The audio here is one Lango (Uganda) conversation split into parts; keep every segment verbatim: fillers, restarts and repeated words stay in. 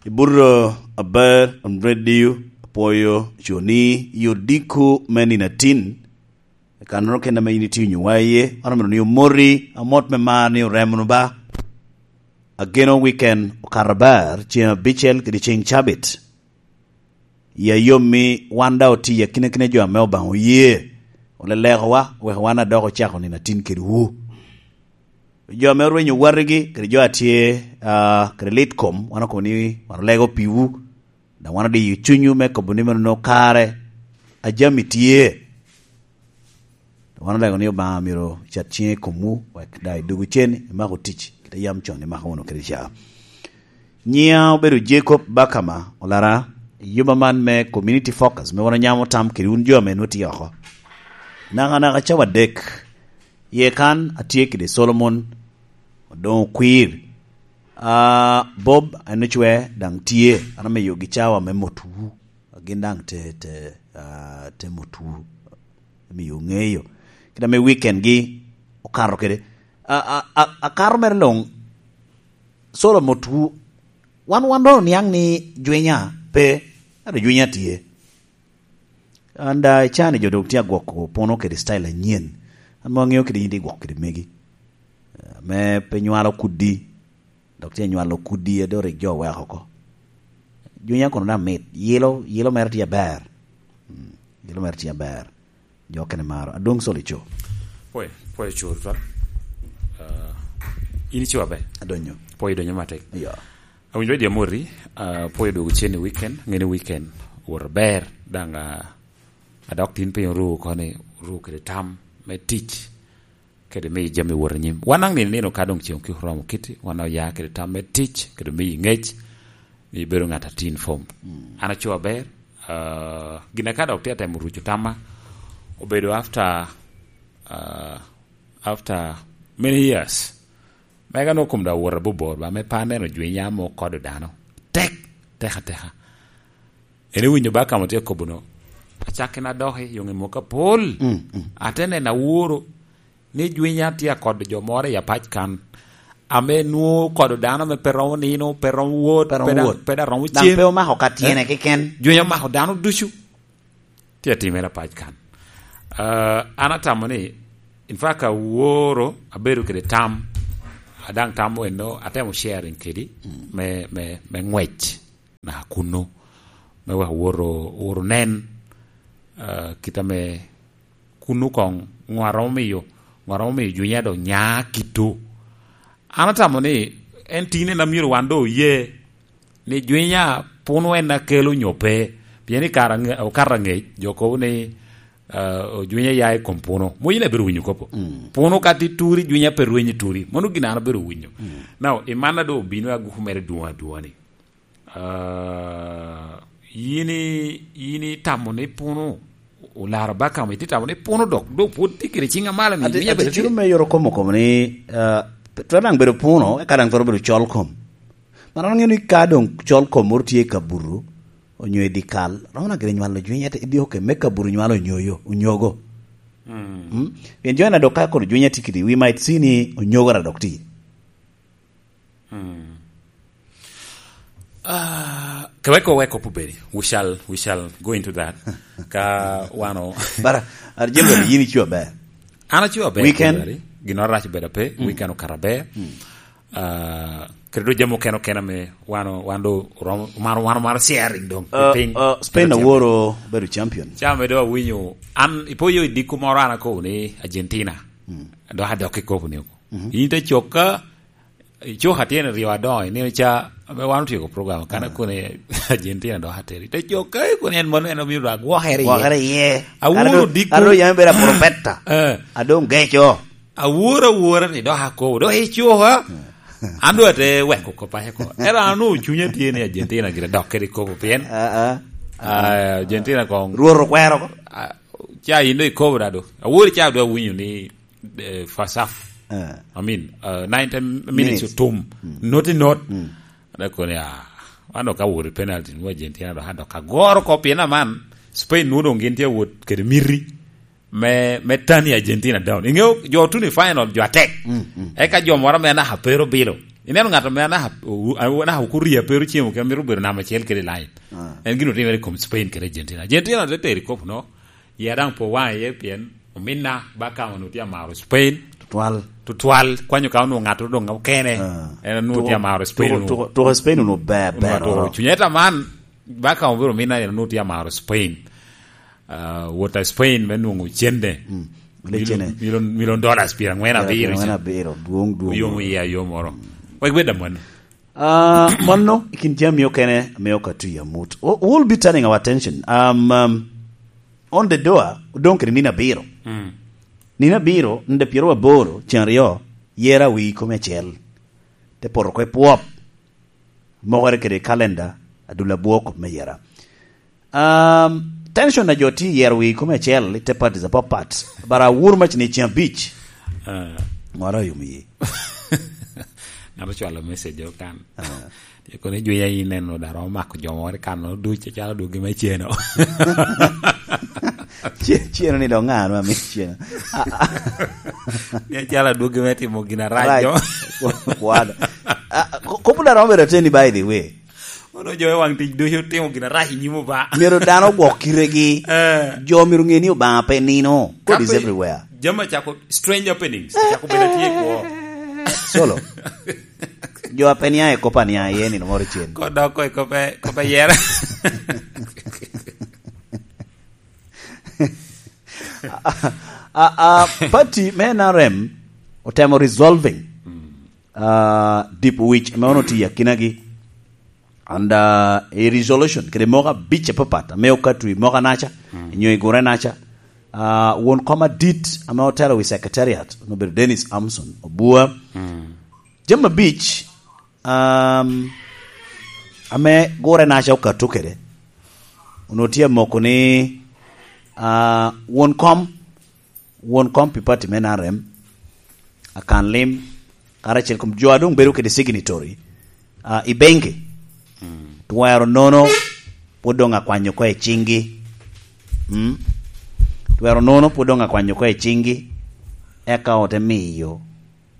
I buto aber, on radio, apwoyo coni i odiko me nino atin. Kanoro kena me yin itye onyowa iye, an omito ni omoti, amot me mar ni oremo wunu ba. Ageno weekend okato aber, ceng abicel kede ceng cabit. Ya yom mi wan da oti akinakina jo ame Obaŋa oye. Olelekowa, wek wan adok ocako nino atin kede wu. Jo ame orwenyo watigi, kede jo a tye, ah, kede lit kom, wan okobo ni wan olego piwu. Daŋ wan odiyo cunywu me kobo ni meno kare a jami tye. Wan olego ni Obaŋa myero cat ciŋe i komwu, wek daŋ i doggo cen imako tic, kite yam con imako wunu kede ca. Nyiŋa obedo Jacob Bakama Olara, i yuba man me Community Focus, me wan onyamo tam kede wun jo ame nwoŋo tye oko. Nakanaka cawa adek, iye kan atye kede Solomon Odoŋo Kwir. Ah, Bob Anocwe daŋ tye, an amiyogi cawa me motwu. Gin daŋ te, te, ah, te motwu. Amiyo ŋeyo. Kit ame weekend-gi okato kede. A, a, a, akato mere luŋ, Solo motwu, wan, wan doŋ oniaŋ ni jwenya pe, ento jwenya tye. An da icani jo dok tye agwoko puno kede style anyen. An mom aŋeo kede yin tye gwoko kede megi. Eh, me pe nywalo kuddi, dok tye nywalo kuddi a doŋ rik jo oweko oko. Jwenya kono daŋ mit, yilo, yilo mere tye aber. Mm, yilo mere tye aber. Jo kene maro. Adwoŋ Solo ico. Pwoyo, pwoyo cur twal. Ah, in ico aber. Adonyo. Pwoyo donyo matek. Iyo. Awinjo radio Amoti, ah, pwoyo dwogo cen i weekend, ŋeni weekend wot aber, daŋ, ah, adok tin piny oru koni, oru kede tam me tic, kede miyo jami wot anyim. Wan daŋ nino nino ka doŋ ceŋ kik oromo kiti, wan oya kede tam me tic, kede miyo ŋec, ni ibedo ŋat a tin fom. Mm. An aco aber, ah, gin aka dok tye atemo ruco tamma, obedo after, ah, after many years. Mega nwoŋo kom da wot abobor ba, me pe aneno jwiny amo kodo dano. Tek, tek ateka. En iwinyo ba ka mo tye akobo no, acakkina adoki, yoŋe moko apol. Mm, mm. Ate neno aworo ni jwinya tye akodo jo moro i apac kan, ame nwoŋo kodo dano ame pe romo nino, pe romo wot, Pe romo pe da-, wot. Pe da romo Daŋ cem. Pe omako ka tyene Eh? Keken. Jwinya omako dano ducu. Tye atimere apac kan. Ah, an atamo ni, in fact, aworo, abedo kede tam, adaŋ tam eno, atemo sharing kedi, Mm. me, me, me ŋwec na kunnu, me wek woro, woro nen, ah, kit ame kunnu koŋ, ŋo a romo miyo, ŋo a romo miyo jwinya dok nya kito. An atamo ni en tine na myero wan do oye ni jwinya puno en a kelo nyo pe, pien i kare aŋe-, okato aŋec, jo kobo ni, ah, jwinya ya i kom puno. Mo yin abiro winyo kopo. Mm. Puno ka ti turi, jwinya pe rwenyi turi. Mano gin an abiro winyo. Mm. Now, i man a do obino aguku mere dwoŋ adwoŋa ni. Ah, yin i-, yin itamo ni puno olaro bakamo, iti tamo ni puno dok, dok pwod tye kede ciŋ amalo ni Ati-, jwinya ati bedo ciro tye. Me yoro komo komo ni, ah, pe-, twero daŋ bedo puno, eka daŋ twero bedo col kom. Man an aŋeo ni ka doŋ col kom moro tye i kabuto, onyo i dikal, romo na gire nywalo jwiny, ete idhi oke me kabuto nywalo onyoyo, onyogo. Mm. Mm? Pien jo na dok ka kono jwiny ati kidi, we might see ni onyogo ra dok ti. Mm. Ah, keweko weko pubedi. We shall, we shall go into that. Ka wano. Bara, ar jembo yin ico aber. An aco aber, Weekend? January. Gino arac bedo pe, Mm. weekend okato aber. Mm. Ah, kede do jami okene okene me wano, wan do rom-, maro, wano maro sharing dong. Ah, Piny. Ah, Spain Bedo champion. Aworo bedo champion. Ca me do awinyo, an ipoyo i diko moro an akobo ni Argentina. Mm. Do adok i kobo ni oko. Mhm. In te cokka, icoka tyen ryo adoŋo, ineno ca, ame wan otyeko program, kan Ah. akone Argentina dok ateri. Te cokka, ikone en mono en omito dwa gwokere iye. Gwokere iye. Awuro Kare do, diko. Kare do yam ibedo apurupeta. Eh. Adoŋ geco. Awuro awura ni dok akobo, dok icoka. Eh. An dong ate weko kop aye ko. Ero an onwoŋo cunya tye ni Argentina gire dok kede kobo pien. Ah, ah. Ah, Argentina kong. Rwot okwero ko. Ah, ca in do ikobo da do. Awori ca do awinyo ni eh, first half. Eh. I mean, uh, ninety minutes Minutes. Otum. Mm. Not in not. Mm. Dako ni, ah, wan dok awot i penalty, nwoŋo Argentina dok adok agoro ko, pien aman, Spain nwoŋo doŋ gin tye awot kede miti me, me tani Argentina down. Iŋeo, jo otuno i final, jo atek. Mm, mm. Eka jo moro ame anaka pe ru bilo. Ineno ngat ame anaka, o-, anaka okuria pe ocemo, ke mito bedo namba acel kede i line. Ah. En gin otimere i kom Spain kede Argentina. Argentina te tero i kop no, ya daŋ po waŋ iye pien ominna ba ka onwoŋo tye amaro Spain. Tutwal. Tutwal, kwanyo ka onwoŋo ŋat doŋ okene. Ah. En onwoŋo tye amaro Spain. Tuko, tuko, tuko Spain onwoŋo ber, ber, tuko oro. Cunya ita man, ba ka obedo ominna en onwoŋo tye amaro Spain. Ah, wot a Spain me nwoŋo cene. Mm. Mil-, cene. Million, million dollars pyerangwen abiro. Pyerangwen abiro, dwoŋ, dwoŋ. Oyom iya, yom oro. Wek bed aman. Ah, mano, i kin jami okene, ame ok atye amut. We-, we'll be turning our attention. Um, um, on the door, odong kede nino abiro. Mm. Nino abiro, nino pyeraboro, cen aryo, yera wi kome acel. Te poto kwe pwop. Mokere kede kalenda, adul abwok me yera. Um, tension a jo tye yero wi kome acel, i te parties apapat. Bara wur mac ni cen abic. Ah. Ŋora oyom yi. Ŋat ocwalo message o kan. Ah. Tye kono i jwinya in neno daro omako jo moro i kan no duc, acalo dwogi me ceno. Ce-, ceno ni dong ŋa anu ami ceno? Ah, ah. Ni acalo adwogi me timo gin arac. Arac. Jo. Kwano. Ah, ko-, kop daro obedo ateni, by the way. Ono jo me waŋ tic ducu timo gin arac i nyim Obaŋa. Myero dano ogwok kitegi. Eh. Jo myero ŋe ni Obaŋa pe nino. God is everywhere. Jami acako strange happenings. Acako bedo tye i kwo. Solo. Jo a pe nia i kop a nia iye nino moro cen. Ko dok ko i kop e, kop e yera. A, a, a, party me N R M otemo resolving, uh, deep witch ame ono tye i akinagi. And, uh, a resolution, kede moko abic apapat, ame okato i moko anaca, mm, nyo i gure anaca. Uh, won kom adit, ame otelo wi secretariat, obedo Dennis Amson Obua. Mm. Jami abic, um, ame gure anaca okato kede, onwoŋo tye amoko ni, uh, won kom won kom pi party me N R M, akan lim, karacel kom jo a doŋ bedo kede signatory, ah, i benki. Mm. Twero nono pwod doŋ akwanyo oko i ciŋgi. Mm. Twero nono pwod doŋ akwanyo oko i ciŋgi, eka ote miyo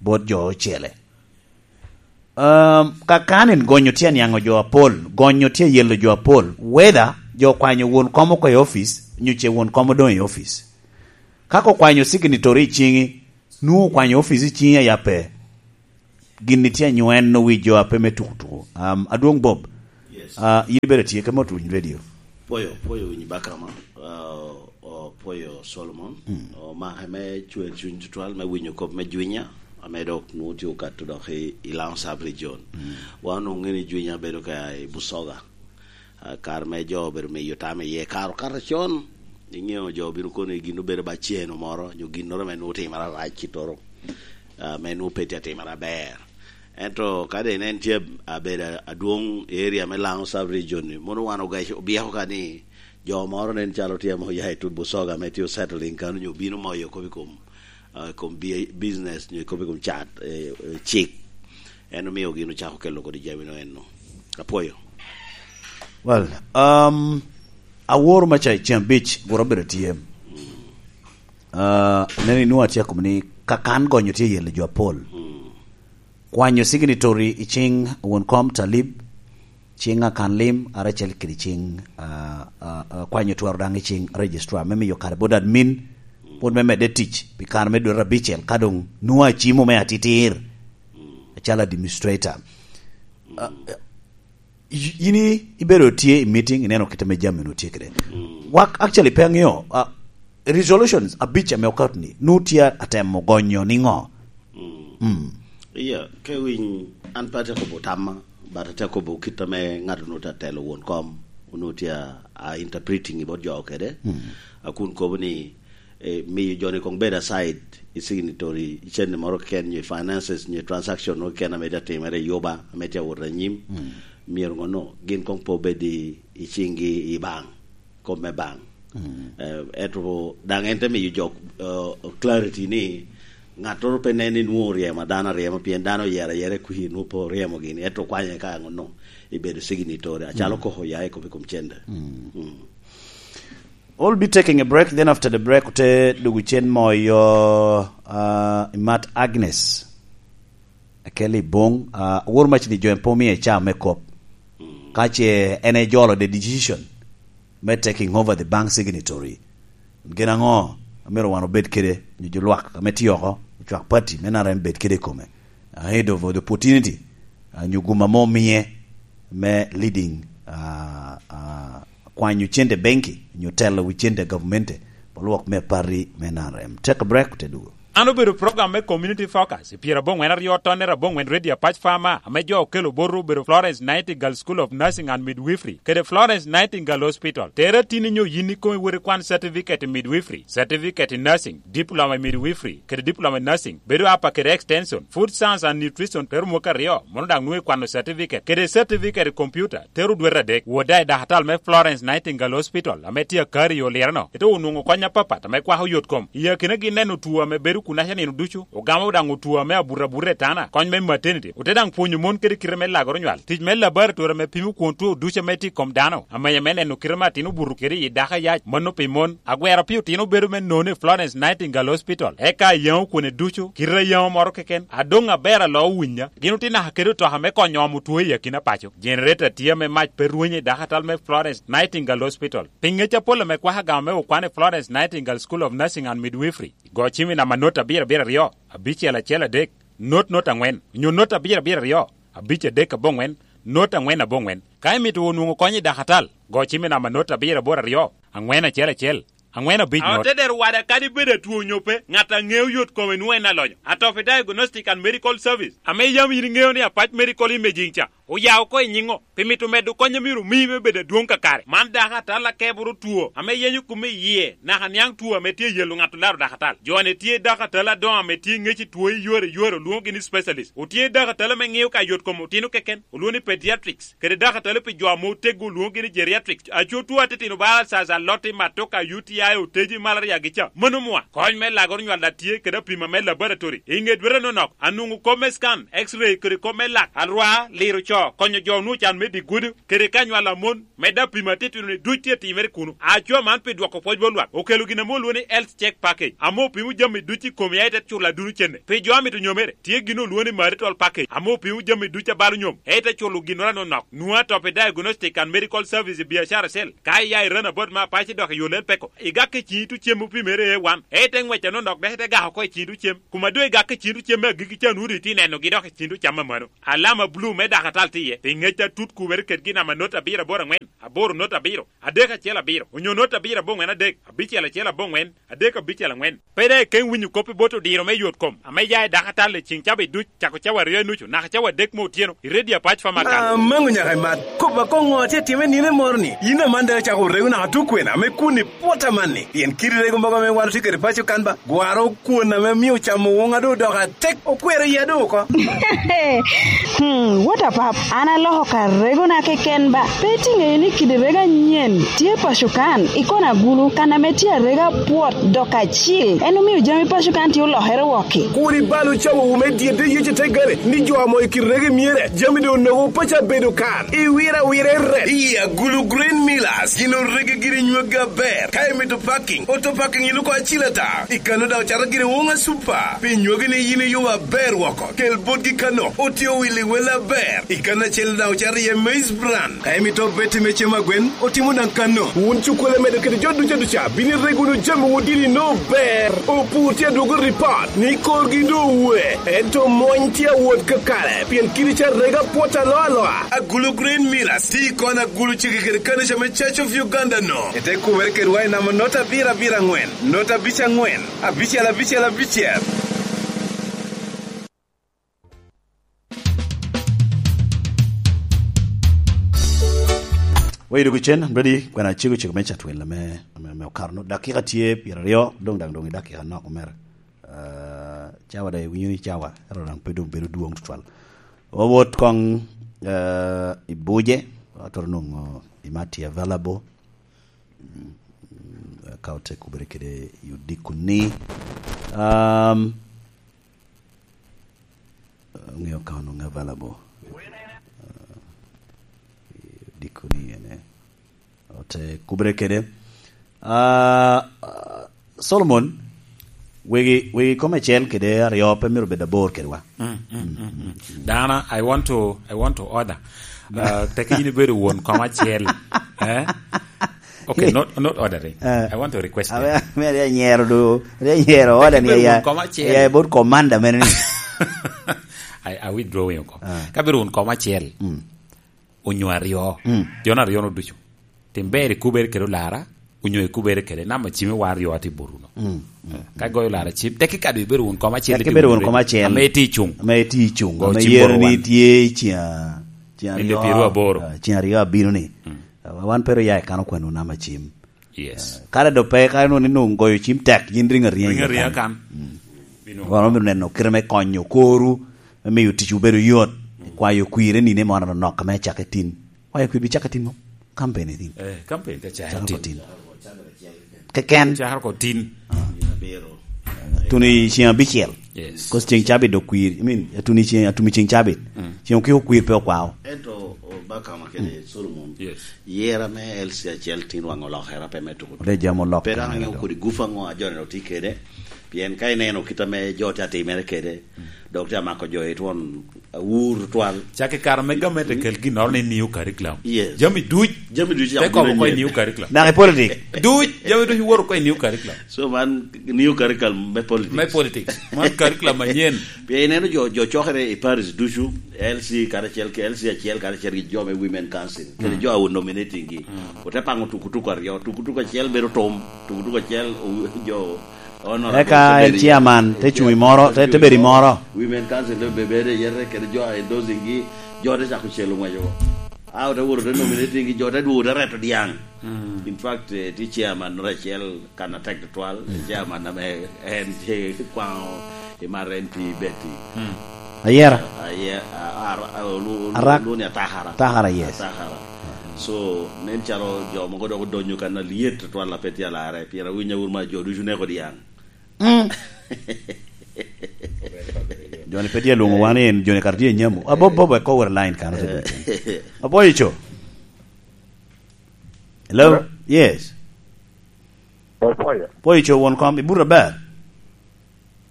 bot jo ocele. Um, ka kan en gonyo tye aniaŋo jo apol, gonyo tye yelo jo apol, whether jo okwanyo won kom oko i office, nyo ce won kom odoŋ i office. Ka okwanyo signatory i ciŋi, nwoŋo okwanyo office i ciŋi aya pe. Gin ni tye anywen owi jo a pe me tuko tuko. Um, Adwoŋ Bob, yes, uh, yin ibedo tye ka mot winy radio. Pwoyo, pwoyo winy bakama. Uh, Opwoyo Solomon, mm, omake me cwer cuny tutwal me winyo kop me Jwinya, ame dok nwoŋo tye okato dok i, i Laŋo Sub Region. Mm. Wan onwoŋo ni Jwinya bedo ka i Busoga. Ah, kare me jo obedo miyo tam iye, kare okato con. Iŋeo jo obino kono i gin obedo ba ceno moro, nyo ginnoro ame nwoŋo timere arac kitoro, ah, ame nwoŋo pe tye atimere aber. Ento ka doŋ inen tye abedo adwoŋ i area me Laŋo Sub Region ni, mono wan ogac-, obyeko ka ni jo moro nen calo tye ame oya i tut Busoga ame tye osettling kano, nyo obino moyo kop i kom, ah, i kom bi-, business, nyo kop i kom cat, eh, eh, cik. En omio gin ocako kelo kodi jami no eno. Apwoyo. Well, um, awor maca i ceng abic gure obedo tye. Ah, neno inwoŋo atye akobo ni ka kan gonyo tye yelo jo apol. Mm. Kwanyo signatory i ciŋ won kom Talib, ciŋ akan lim, aracel kede ciŋ, ah, ah, ah, kwanyo twero daŋ i ciŋ registrar, me miyo kare bot admin, bot me medde tic, pi kare me dwe abicel, ka doŋ nwoŋo acimo me atitir, acalo administrator. Ah, y-, yin i-, ibedo tye i meeting, ineno kit ame jami onwoŋo tye kede. Mm. Wak actually pe aŋeo, ah, resolutions abic ame okato ni, nwoŋo tye atemo gonyo niŋo? Mm. Mm. Iya, ke winy, an pe atye akobo tamma, but atye akobo kit ame ŋat onwoŋo tye atelo won kom, onwoŋo tye a, a interpreting i bot jo kede. Mm. A kun kobo ni, eh, miyo jo-ni koŋ bed aside i signatory, i cente moro keken, nyo i finances, nyo i transaction moro keken ame tye timere i Yuba, ame tye awot anyim, mm, myero ŋonno, gin koŋ pe obed i, i ciŋgi i baŋ, kop me baŋ. Mm. Eh, ento daŋ en te miyo jo, eh, clarity ni ŋattoro pe nen ni nwoŋo oryemo dano aryema, pien dano oyero ayera i kwir, nwoŋo pe oryemo gini, ento okwanye ka ŋonno ibedo signatory, acalo, mm, koko oya i kop i kom cente. Mm. Mm. We'll be taking a break, then after the break, ote dugu cen moyo, uh, Imat Agnes. Akel i boŋ, ah, wor mac ni jo en pe omie ca me kop. Ka ce en ejolo the decision me taking over the bank signatory, gin aŋo amito wan obed kede, nyo jo lwak ame tye oko, ocwak party me N R M bed kede i kome, ahead of the opportunity, ah, nyo gum ame omie me leading, ah, ah, kwanyo cente benki, nyo telo wi cente gavmente, pa lwak me party me N R M. Take a break, te dugo. An obedo program me Community Focus i pyeraboŋwen aryo tonnere aboŋwen Radio Apac Farmer, ame jo okelo botwu obedo Florence Nightingale School of Nursing and Midwifery kede Florence Nightingale Hospital. Tere tin inyo yin ikomi wot ikwan certificate i midwifery, certificate i nursing, diploma i midwifery kede diploma i nursing, bedo apa kede extension, food science and nutrition, tero mwaka aryo, mono daŋ nwoŋo ikwano certificate kede certificate i computer, tero dwete adek. Wot daŋ i dakatal me Florence Nightingale Hospital ame tye akari i Oliro-no, ite onwoŋo kony apapat ame kwako yot kom. I akinagi neno two ame bedo kunaca nino ducu, ogamo daŋ two ame abuto abuta i tana, kony me maternity, ote daŋ pwonyo mon kede kite me lagoro nywal, tic me laboratory ame pimo kwon two ducu ame tye i kom dano, amenya me neno kite me atin obuto kede i dako ayac, mano pi mon. Agwero pi otino bedo me nono i Florence Nightingale Hospital, eka ayaŋo kwone ducu, kite ayaŋo moro keken, adoŋ aber alo owinya. Gin otye naka kede otoka me konyo omo two i akina paco. Generator tye ame mac pe rwenyo i dakatal me Florence Nightingale Hospital. Pi ŋec apol ame kwako agama me okwan i Florence Nightingale School of Nursing and Midwifery, go cim i namba not abiro abiro aryo, abicel acel adek, not not aŋwen, onyo not abiro abiro aryo, abic adek aboŋwen, not aŋwen aboŋwen. Ka imito onwoŋo kony i dakatal, go cim i namba not abiro aboro aryo, aŋwen acel acel, aŋwen abic not. Otedero wada kadi bed atwo onyo pe, ŋat a ŋeo yot kome nwoŋo en alonyo. Atopi Diagnostic and Medical Service, ame yam yin iŋeo ni Apac Medical Imaging ca, oya oko i nyiŋo, pi mito medo kony a myero omii me bedo adwoŋ kakare. Man dakatal akeboro two ame yenyo kome i yie, naka niaŋ two ame tye yelo ŋat olaro dakatal. Jo-ni tye dakatal adoŋo ame tye ŋec i two i yore i yore, olwoŋogi ni specialist. Otye dakatal ame ŋeo ka yot kom otino keken, olwoŋo ni pediatrics, kede dakatal pi jo ame oteggo, olwoŋogi ni geriatrics. Aco two atitino bala caca, lotti, matoka, U T I, oteji, malaria gi ca. Mano mwa. Kony me lagoro nywal a tye kede apima me laboratory. I ŋe dwete nonok, anwoŋo kop me scan, X-ray, kede kop me lak, alwar, liro co, konyo jo onwoŋo can me dye gudo, kede ka nywal a mon, medde apima atitino-ni duc tye timere kuno. Aco man pi dwoko pwoc bot lwak, okelo gin ame olwoŋo ni Health Check Package, ame opimo jami duc i komi, aye te culo aduno cente. Pi jo a mito nyomere, tye gin olwoŋo ni Marital Package, ame opimo jami duc a balo nyom, aye te culo ginnoro anonok. Nwoŋo Atopi Diagnostic and Medical Service i biacara cell. Ka iya i Ranabot ma Apac idok i yo Lel Peko, igak i ciŋ itu cem opimere A one, aye ite ŋwec anonok dok ite gako oko i ciŋ itu cem. Kuma doŋ igak i ciŋ itu cem me agikki ca, nwoŋo doŋ itye nenogi dok i ciŋ itu cam amano. Alama bulu me dakatal tye iye, pi ŋec atut kubere kedgi namba not abiro aboro aŋwen, aboro not abiro, adek acel abiro, onyo not abiro aboŋwen adek, abicel acel aboŋwen, adek abicel aŋwen. Pe daŋ ikeŋ winyo kop i bot odiro me yot kom ame ya i dakatal i ciŋ cabit duc, cako cawa aryo i nucu naka cawa adek me otyeno, i Radio Apac Farmer Council. Amaŋo nyaka imat. Kop akoŋo atye atime nino moro-ni? Yin aman daŋ icako rego naka tukwena ame kun i pwot amanni? Pien kit rego mogo ame wan otye kede paco kan ba, gwaro kwon ame mio camo woŋa doŋ odoko atek, okwero iya doŋ oko. Hmm, what a pap! An aloko ka regona keken ba. Pe itiŋeyo ni kidi rego anyen tye paco kan, i kona agulu, kan ame tye arega pwot dok acil. En omio jami paco kan tye olokere wok-ki. Kur ibal ocawowu me dyedde Yecu te gare, ni jo amo i kit rego myere, jami doŋ onogo paco abedo kan. Iwiro awira i rep. I agulu Grain Millers, gin orege giri nyweggi aber. Ka imito parking, auto parking iluŋ oko acil ata. I kano daŋ ocato giri Wonga Super. Pi nywegi ni yin iyubo aber woko, kel botgi kano, otye owili wel aber. I kano acel daŋ ocato iye Maize Bran. Ka imito beti me cem agwen, otimo daŋ kano. Wun cukkole medo kede jo duca duca, bino ireg wunu jamiwu dini no ber. Opur tye adwogo ripot ni korgi doŋ owe, ento mony tye awot kakare, pien kidi ca rega pwot aloa aloa. Agulu Grain Millers tye i kona agulu cege kede kanica me Church of Uganda no. Ite kumere kedwa i namba nota abiro abiro aŋwen, nota abic aŋwen, abicel abicel abicel. Wayudo kucen, ready, kwena cego cego me catwel ame, ame, ame okaro no. Dakika tye pyeraryo, dong daŋ dong i dakika nok mere. Ah, cawa daŋ iwinyo ni cawa, ero daŋ pe dong bedo dwoŋ tutwal. Wawot koŋ, eh, i buce, watoro nwoŋo i ma tye available. Mm, ka ote kubere kede i odiko ni, um, ŋeo ka onwoŋo available. Uh, odiko ni ene. Ote kubere kede. Ah, ah, Solomon, Wegi, wegi kom acel kede aryo pe myero bed abor kedwa. Mm, mm, mm, mm. Dana, I want to, I want to order. Uh, teke yin ibedo won kom acel. Eh? Okay, not, not ordering. Eh. I want to request. Ame, that. Ame ri anyero do, ri anyero order ni ya, ya bot commander mene ni. I, I withdraw yung kom. Ah. Ka bedo won kom acel. Mm. Onyo aryo. Mm. Jon aryo no ducu. Tim ber ikubere kede olara, onyo ikubere kede namba cimi wa aryo ati boruno. Mm. Mm. Ka goyo olara cim, teke kado ibedo won kom acel. Teke ibedo won kom acel. Ame iti cung. Ame iti cung. Go ame cim yero ni tye cin a-, cin aryo, pyero aboro. Ah, cin aryo abino ni. Mm. Ah, wan pero ya i kano kwano namba cim. Yes. Ah, kare do pe, kare no ni nung goyo cim tek, yin ring ariya. Ring ariya kan. Mm. Wan omito neno kite me konyo koru, me miyo ticwu bedo yot, kwayo kwir i nino moro anok ame acake tin. Kwayo kwir bi cake tin mo? Kampen i tin. Eh, kampen ka caro tin. Caro ko tin. Keken. Caro ko tin. Tuni ceng abicel. Yes. Kos ceng cabit dok kwir. I mean, atuni ceng, atumi ceng cabit. Mm. Ceng okiko kwir pe okwao. Ento, o, Bakama kede Solomon, yes, yera me L C acel tin waŋ olokere pe me tuko. Ode jam olok. Pe dano ŋeo kodi gufa ŋo a jo-ni otye kede. Pien ka ineno kit ame jo tye atimere kede, dok tye amako jo i twon awur twal. Cak i kare me gamente kel ginnoro ni new curriculum. Yes. Jami duc. Jami duc te kobo ko i new curriculum. Naka i politik. Duc, jami duc iworo ko i new curriculum. So man, new curriculum me politics. Me politics. Man curriculum manyen. Pien ineno jo, jo cokere i parish ducu, L C karacel ki, L C acel karacel ki jo me Women Council, kede jo a nominating gi. Mm. Ote paŋo tukutuku aryo, tukutuku acel bedo tum, tukutuku acel o-, jo honorable. Eka en chairman, te cuŋ i moro, te, te bedo i moro. Women Council te be-, bedo i yete, kede jo a endorsing gi, jo te cako celo ŋweco. A ote woro te nominating gi, jo te dwogo te reto diaŋ. Mm. In fact, eh, tye chairman moro acel kan atek tutwal, mm, chairman ame en tye kwaŋo i mar N P Betty. Mm. Ayera. Aye-, a-, a-, a-, olu-, olu-, Arak. Oluni Atakara. Atakara, yes. Atakara. So, nen calo jo mogo dok odonyo kan alyet tutwal a pe tye alarre, pien awinyo awur ma jo ducu neko diaŋ. Mm. Joni pe tye alwoŋo wan ni en, joni kara tye i nyamo. Abobo, bobo, eko wot line kano te ducu. Abobo ico. Hello? Hello? Yes. Opoyo. Opoyo ico won kom, ibuto aber?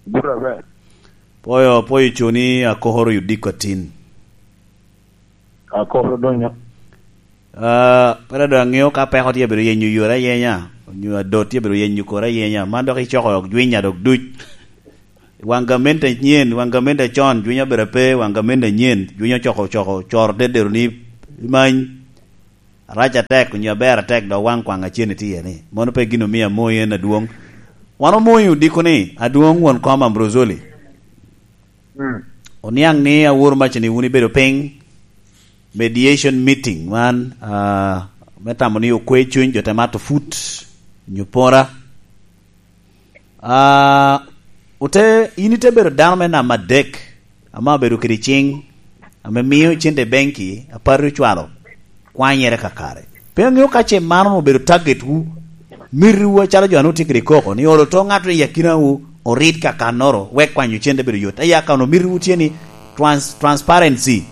Ibuto aber. Opoyo, opoyo ico ni akokoro yudiko atin. Akokoro donyo. Ah, pera do aŋeo ka peko tye bedo yenyo yore ayenya, onyo adot tye bedo yenyo kore ayenya. Man dok icoko jwinya dok duc. Waŋ gamente anyen, waŋ gamente acon, jwinya bedo ape, waŋ gamente anyen, jwinya ocoko, ocoko, coro dedero ni imany. Arac atek, onyo aber atek, dok waŋ kwaŋ acen itye iye ni. Mano pe gin omio amoyi en adwoŋ. Wan omoyi odiko ni, adwoŋ won kom Ambrosoli. Mm. Oniaŋ ni awor maca ni wun ibedo piny, mediation meeting man, ah, me tamo ni okwe cuny jo te mato put, onyo pora. Ah, ote, in ite bedo dano me namba adek, ame obedo kede ciŋ, ame mio cente i benki, apati ocwalo, kwanyere kakare. Pe aŋeo ka ce mano obedo target wu, mitiwu acalo jo anu tye kede koko, ni olo to ŋato i akinawu, orit ka kannoro, wek kwanyo cente bedo yot. Aye akano mitiwu tye ni trans-, transparency,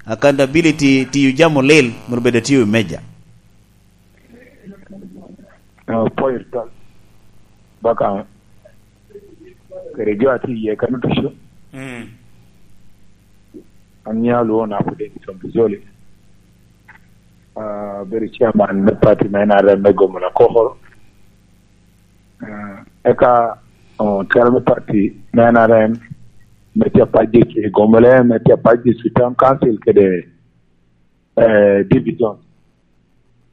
accountability, tiyo jami olil, myero bed atiyo i meja. Eh, Opoyo Tol, Bakaŋ, kede jo a tye iye kano ducu. Mm. An nyalo lwongo Napo David Ombizoli. Ah, abedo chairman me party me N R M me Gomola Kokoro. Ah, eka, oh, telo me party me N R M me tye apac district i Gomola, me tye apac district town council kede, eh, division.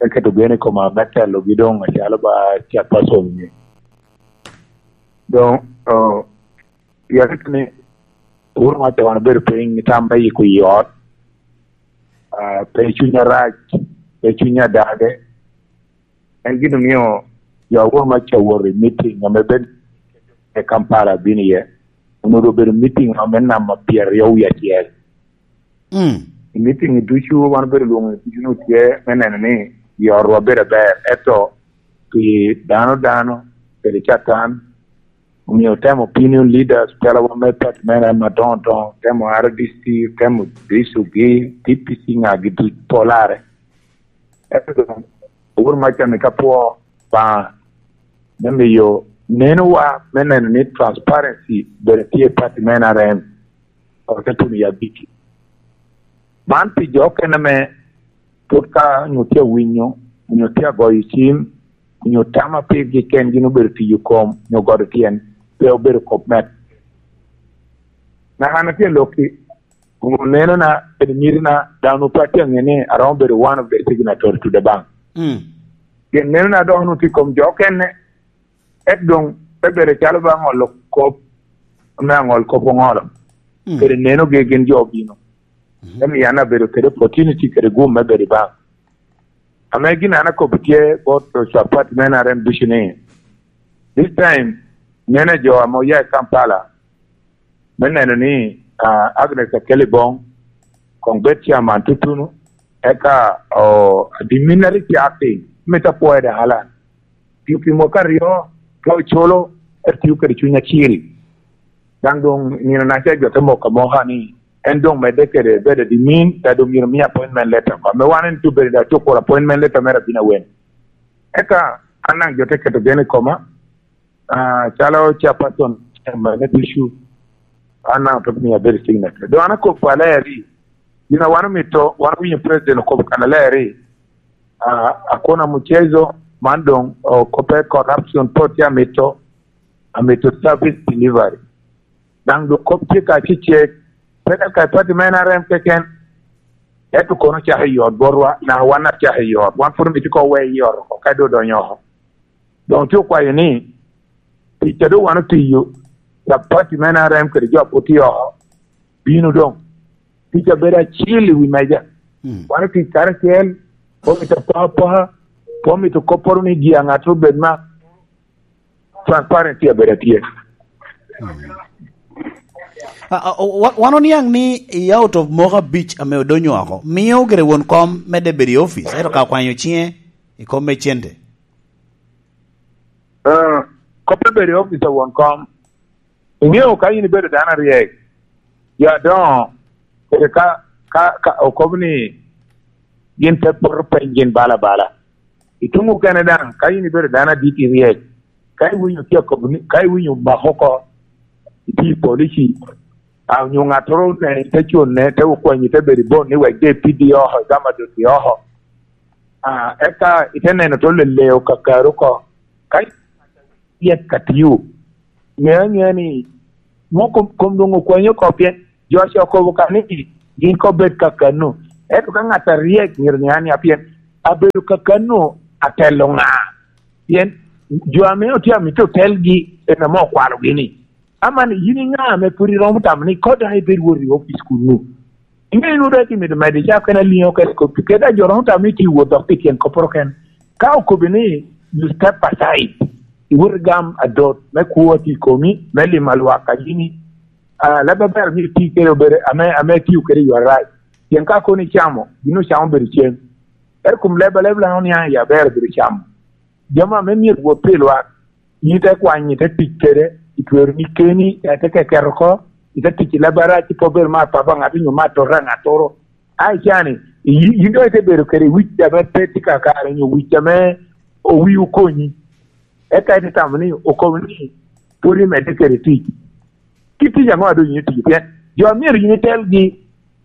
Eketo gen i koma me telogi doŋ acalo ba chairperson ni. Doŋ, oh, pien ni, wuro ma te wan obedo piny, tam me yiko i ot, ah, pe cunya rac, pe cunya dage. En gin omio jo awor ma ca wot i meeting ame bedo i Kampala bino iye. Onwoŋo obedo meeting ame namba pyeraryo wie acel. Mm. I meeting ducu, wan obedo lwoŋo ducu ni tye me neno ni i otwa bedo aber, ento pi dano dano, kede Catan, omio temo opinion leaders, telawa me party me N R M adoŋo doŋo, temo R D C, temo D C gi, D P C ŋagi duc polare. Ento doŋ, awuro maca ni ka pwo Obaŋa me miyo nenowa me neno ni transparency bedo tye i party me N R M, ote tuno i abiki. Man pi jo okene me pwod ka onyo tye awinyo, onyo tye agoyo cim, onyo tama pirgi kengi obedo tiyo kom, onyo godo tyen, pe obedo kop me. Naka an atye lokki, oneno na, kede miti na, dano pe atye ange ni aromo bedo one of the signatory to the bank. Mm. Pien neno na dok onwoŋo tye i kom jo okene, ento doŋ te bedo calo ba aŋolo kop, ame aŋol kop oŋolo. Mm. Kede nenogi gin jo obino. Mhm. Ento yan abedo kede opportunity kede gum me bedo i bank. Ame gin an akobo tye bot ocapat me N R M ducu ni, this time, nene jo ame oya i Kampala, me neno ni, ah, Agnes Akelibong koŋ bed chairman tutunu, eka, oh, the minute cak piny, mito apwoyo dek alan. Pi, pi mwaka aryo, ka oculo, etio kede cuny acil. Daŋ doŋ nino naca jo te moko amoka ni, en doŋ medde kede bedo admin, ka doŋ myero mi appointment letter oko. Ame wan en tubere da tukuro appointment letter mere abin awen. Eka, an daŋ jo te keto gen i koma, ah, calo chairperson, chairman me ducu, an daŋ ote miyo abedo signature. Doŋ an akobo aler ni, gin a wan omito, wan owinyo president okobo kan aler ni, ah, hakuna mchezo, man doŋ, oh, kop me corruption, pe otye amito, amito service delivery. Daŋ doŋ kop tye ka cecek, pe ka ka party me N R M keken, ento kono cako i ot botwa, naka wan acako i ot, wan pwod omito ko we i ot oko, ka doŋ odonyo oko. Doŋ tye okwayo ni, tic a doŋ wan otiyo, capat i me N R M kede jo a pwod tye oko, bino doŋ. Tic a bedo acil i wi meja. Mm. Wan otic karacel, pe omito apoka apoka, pe omito kopporo ni ji aŋattoro obed ma transparency a bedo atye. Mm. A, a, o-, wa-, wan oniaŋ ni i out of moko abic ame odonyo oko, mio gire won kom medde bedo i office, ento ka okwanyo ciŋe i kom me cente. Ah, kop me bedo i opic a won kom, iŋeo ka in ibedo dano aryek, jo adoŋo, kede ka, ka, ka okobo ni gin te poto peny gin bala bala. I tuŋ okene daŋ, ka in ibedo dano adit iryek, ka iwinyo tye akobo ni, ka iwinyo omako oko, itye i polici, a, onyo ŋattoro oneni te cunne, te okwanyi, te bedo i bon ni wek de ipiddi oko, igamo adoti oko. Ah, eka ite neno to leleo kakari oko. Ka yet ka tio, ŋe aŋea ni nwo kom, kom doŋ okwanyi oko, pien jo ca okobo ka ni gin ko bed kakano. Ento ka ŋat aryek myero ŋe ania, pien abedo kakano atelo ŋa? Pien jo ame otye amito telgi en ame okwalogi ni, aman yin i ŋa ame pwod iromo tamo ni koda ibed wot i opic kunnu? Ŋe nwo dok imito medo icako kene aliŋo kede kop, kede a jo romo tamo ni tye wot dok pi tyen kopporo ken. Ka okobi ni, you step aside, iwot igam adot me kwo a tye i komi, me limo lwak a yini, ah, leb aber myero iti kede obedo ame, ame itio kede i yo arac. Pien ka kono icamo, gin ocamo obedo cem. Ento kom leb a leb Lango niaŋ i aber obedo camo. Jami ame myero wot pi lwak, yin ite kwanyo, ite tic kede, itwero ni keni, ite keketo oko, ite tic i leb arac, ipo bedo mar papa ŋat onyo mar tota ŋattoro. A icani, i-, yin doŋ ite bedo kede wic ame pe tye kakare, onyo wic ame owi okonyi. Eka ite tamo ni okobo ni pwod imedde kede tic. Kit tic aŋo a doŋ yin itio? Pien jo a myero yin itelgi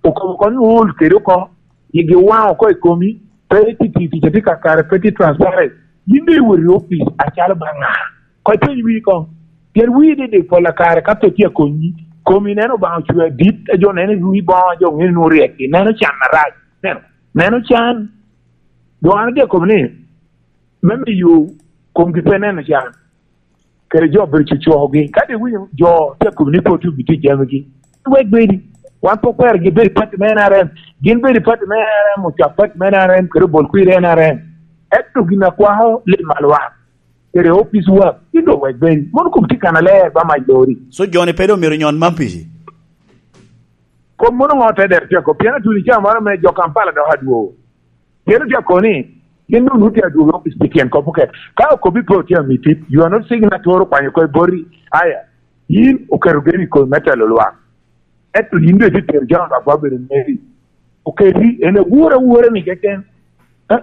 okobo oko ni ool kede oko, yigi owaŋ oko i komi, pe itye tiyo tic atye kakare, pe tye transparent. Yin doŋ iwot i opic acalo ba ŋa? Koŋ ipeny wii koŋ. Pien wii didik pol a kare ka pe tye akonyi, komi neno Obaŋa ocweo adit, a jo neno i wii boŋo, a jo ŋeni nwoŋo ryek, neno can arac. Neno, neno can. Doŋ an atye akobo ni, me miyo komgi pe neno can, kede jo bedo cocokogi. Ka doŋ iwinyo jo tye akobo ni pe otye obitye i jamigi, wek bedi. Wan pe okwero gin bedo i pati me N R M. Gin bedo i pati me N R M, ocwak pati me N R M, kede obol kwir N R M. Ento gin a kwako lim alwak, kede opic wak, gin doŋ wek bedi. Mono kom tye kan aler ba mac lori. So, jo-ni pe doŋ myero nyon man pici? Kom mono ŋo te dero tye ako? Pien atun i caa moro me jo Kampala dok adwogo. Pien otye akoni, gin doŋ nwoŋo tye adwogo i opic pi tyen kop oket. Ka okobi pe otye amiti, you are not seeking atoro kwanyo oko i boti. Aya, yin oketo geni i komi me telo lwak. Ento yin doŋ itye tero jami lwak ba obedo meri. Oketi, en awor awora ni keken. Eh?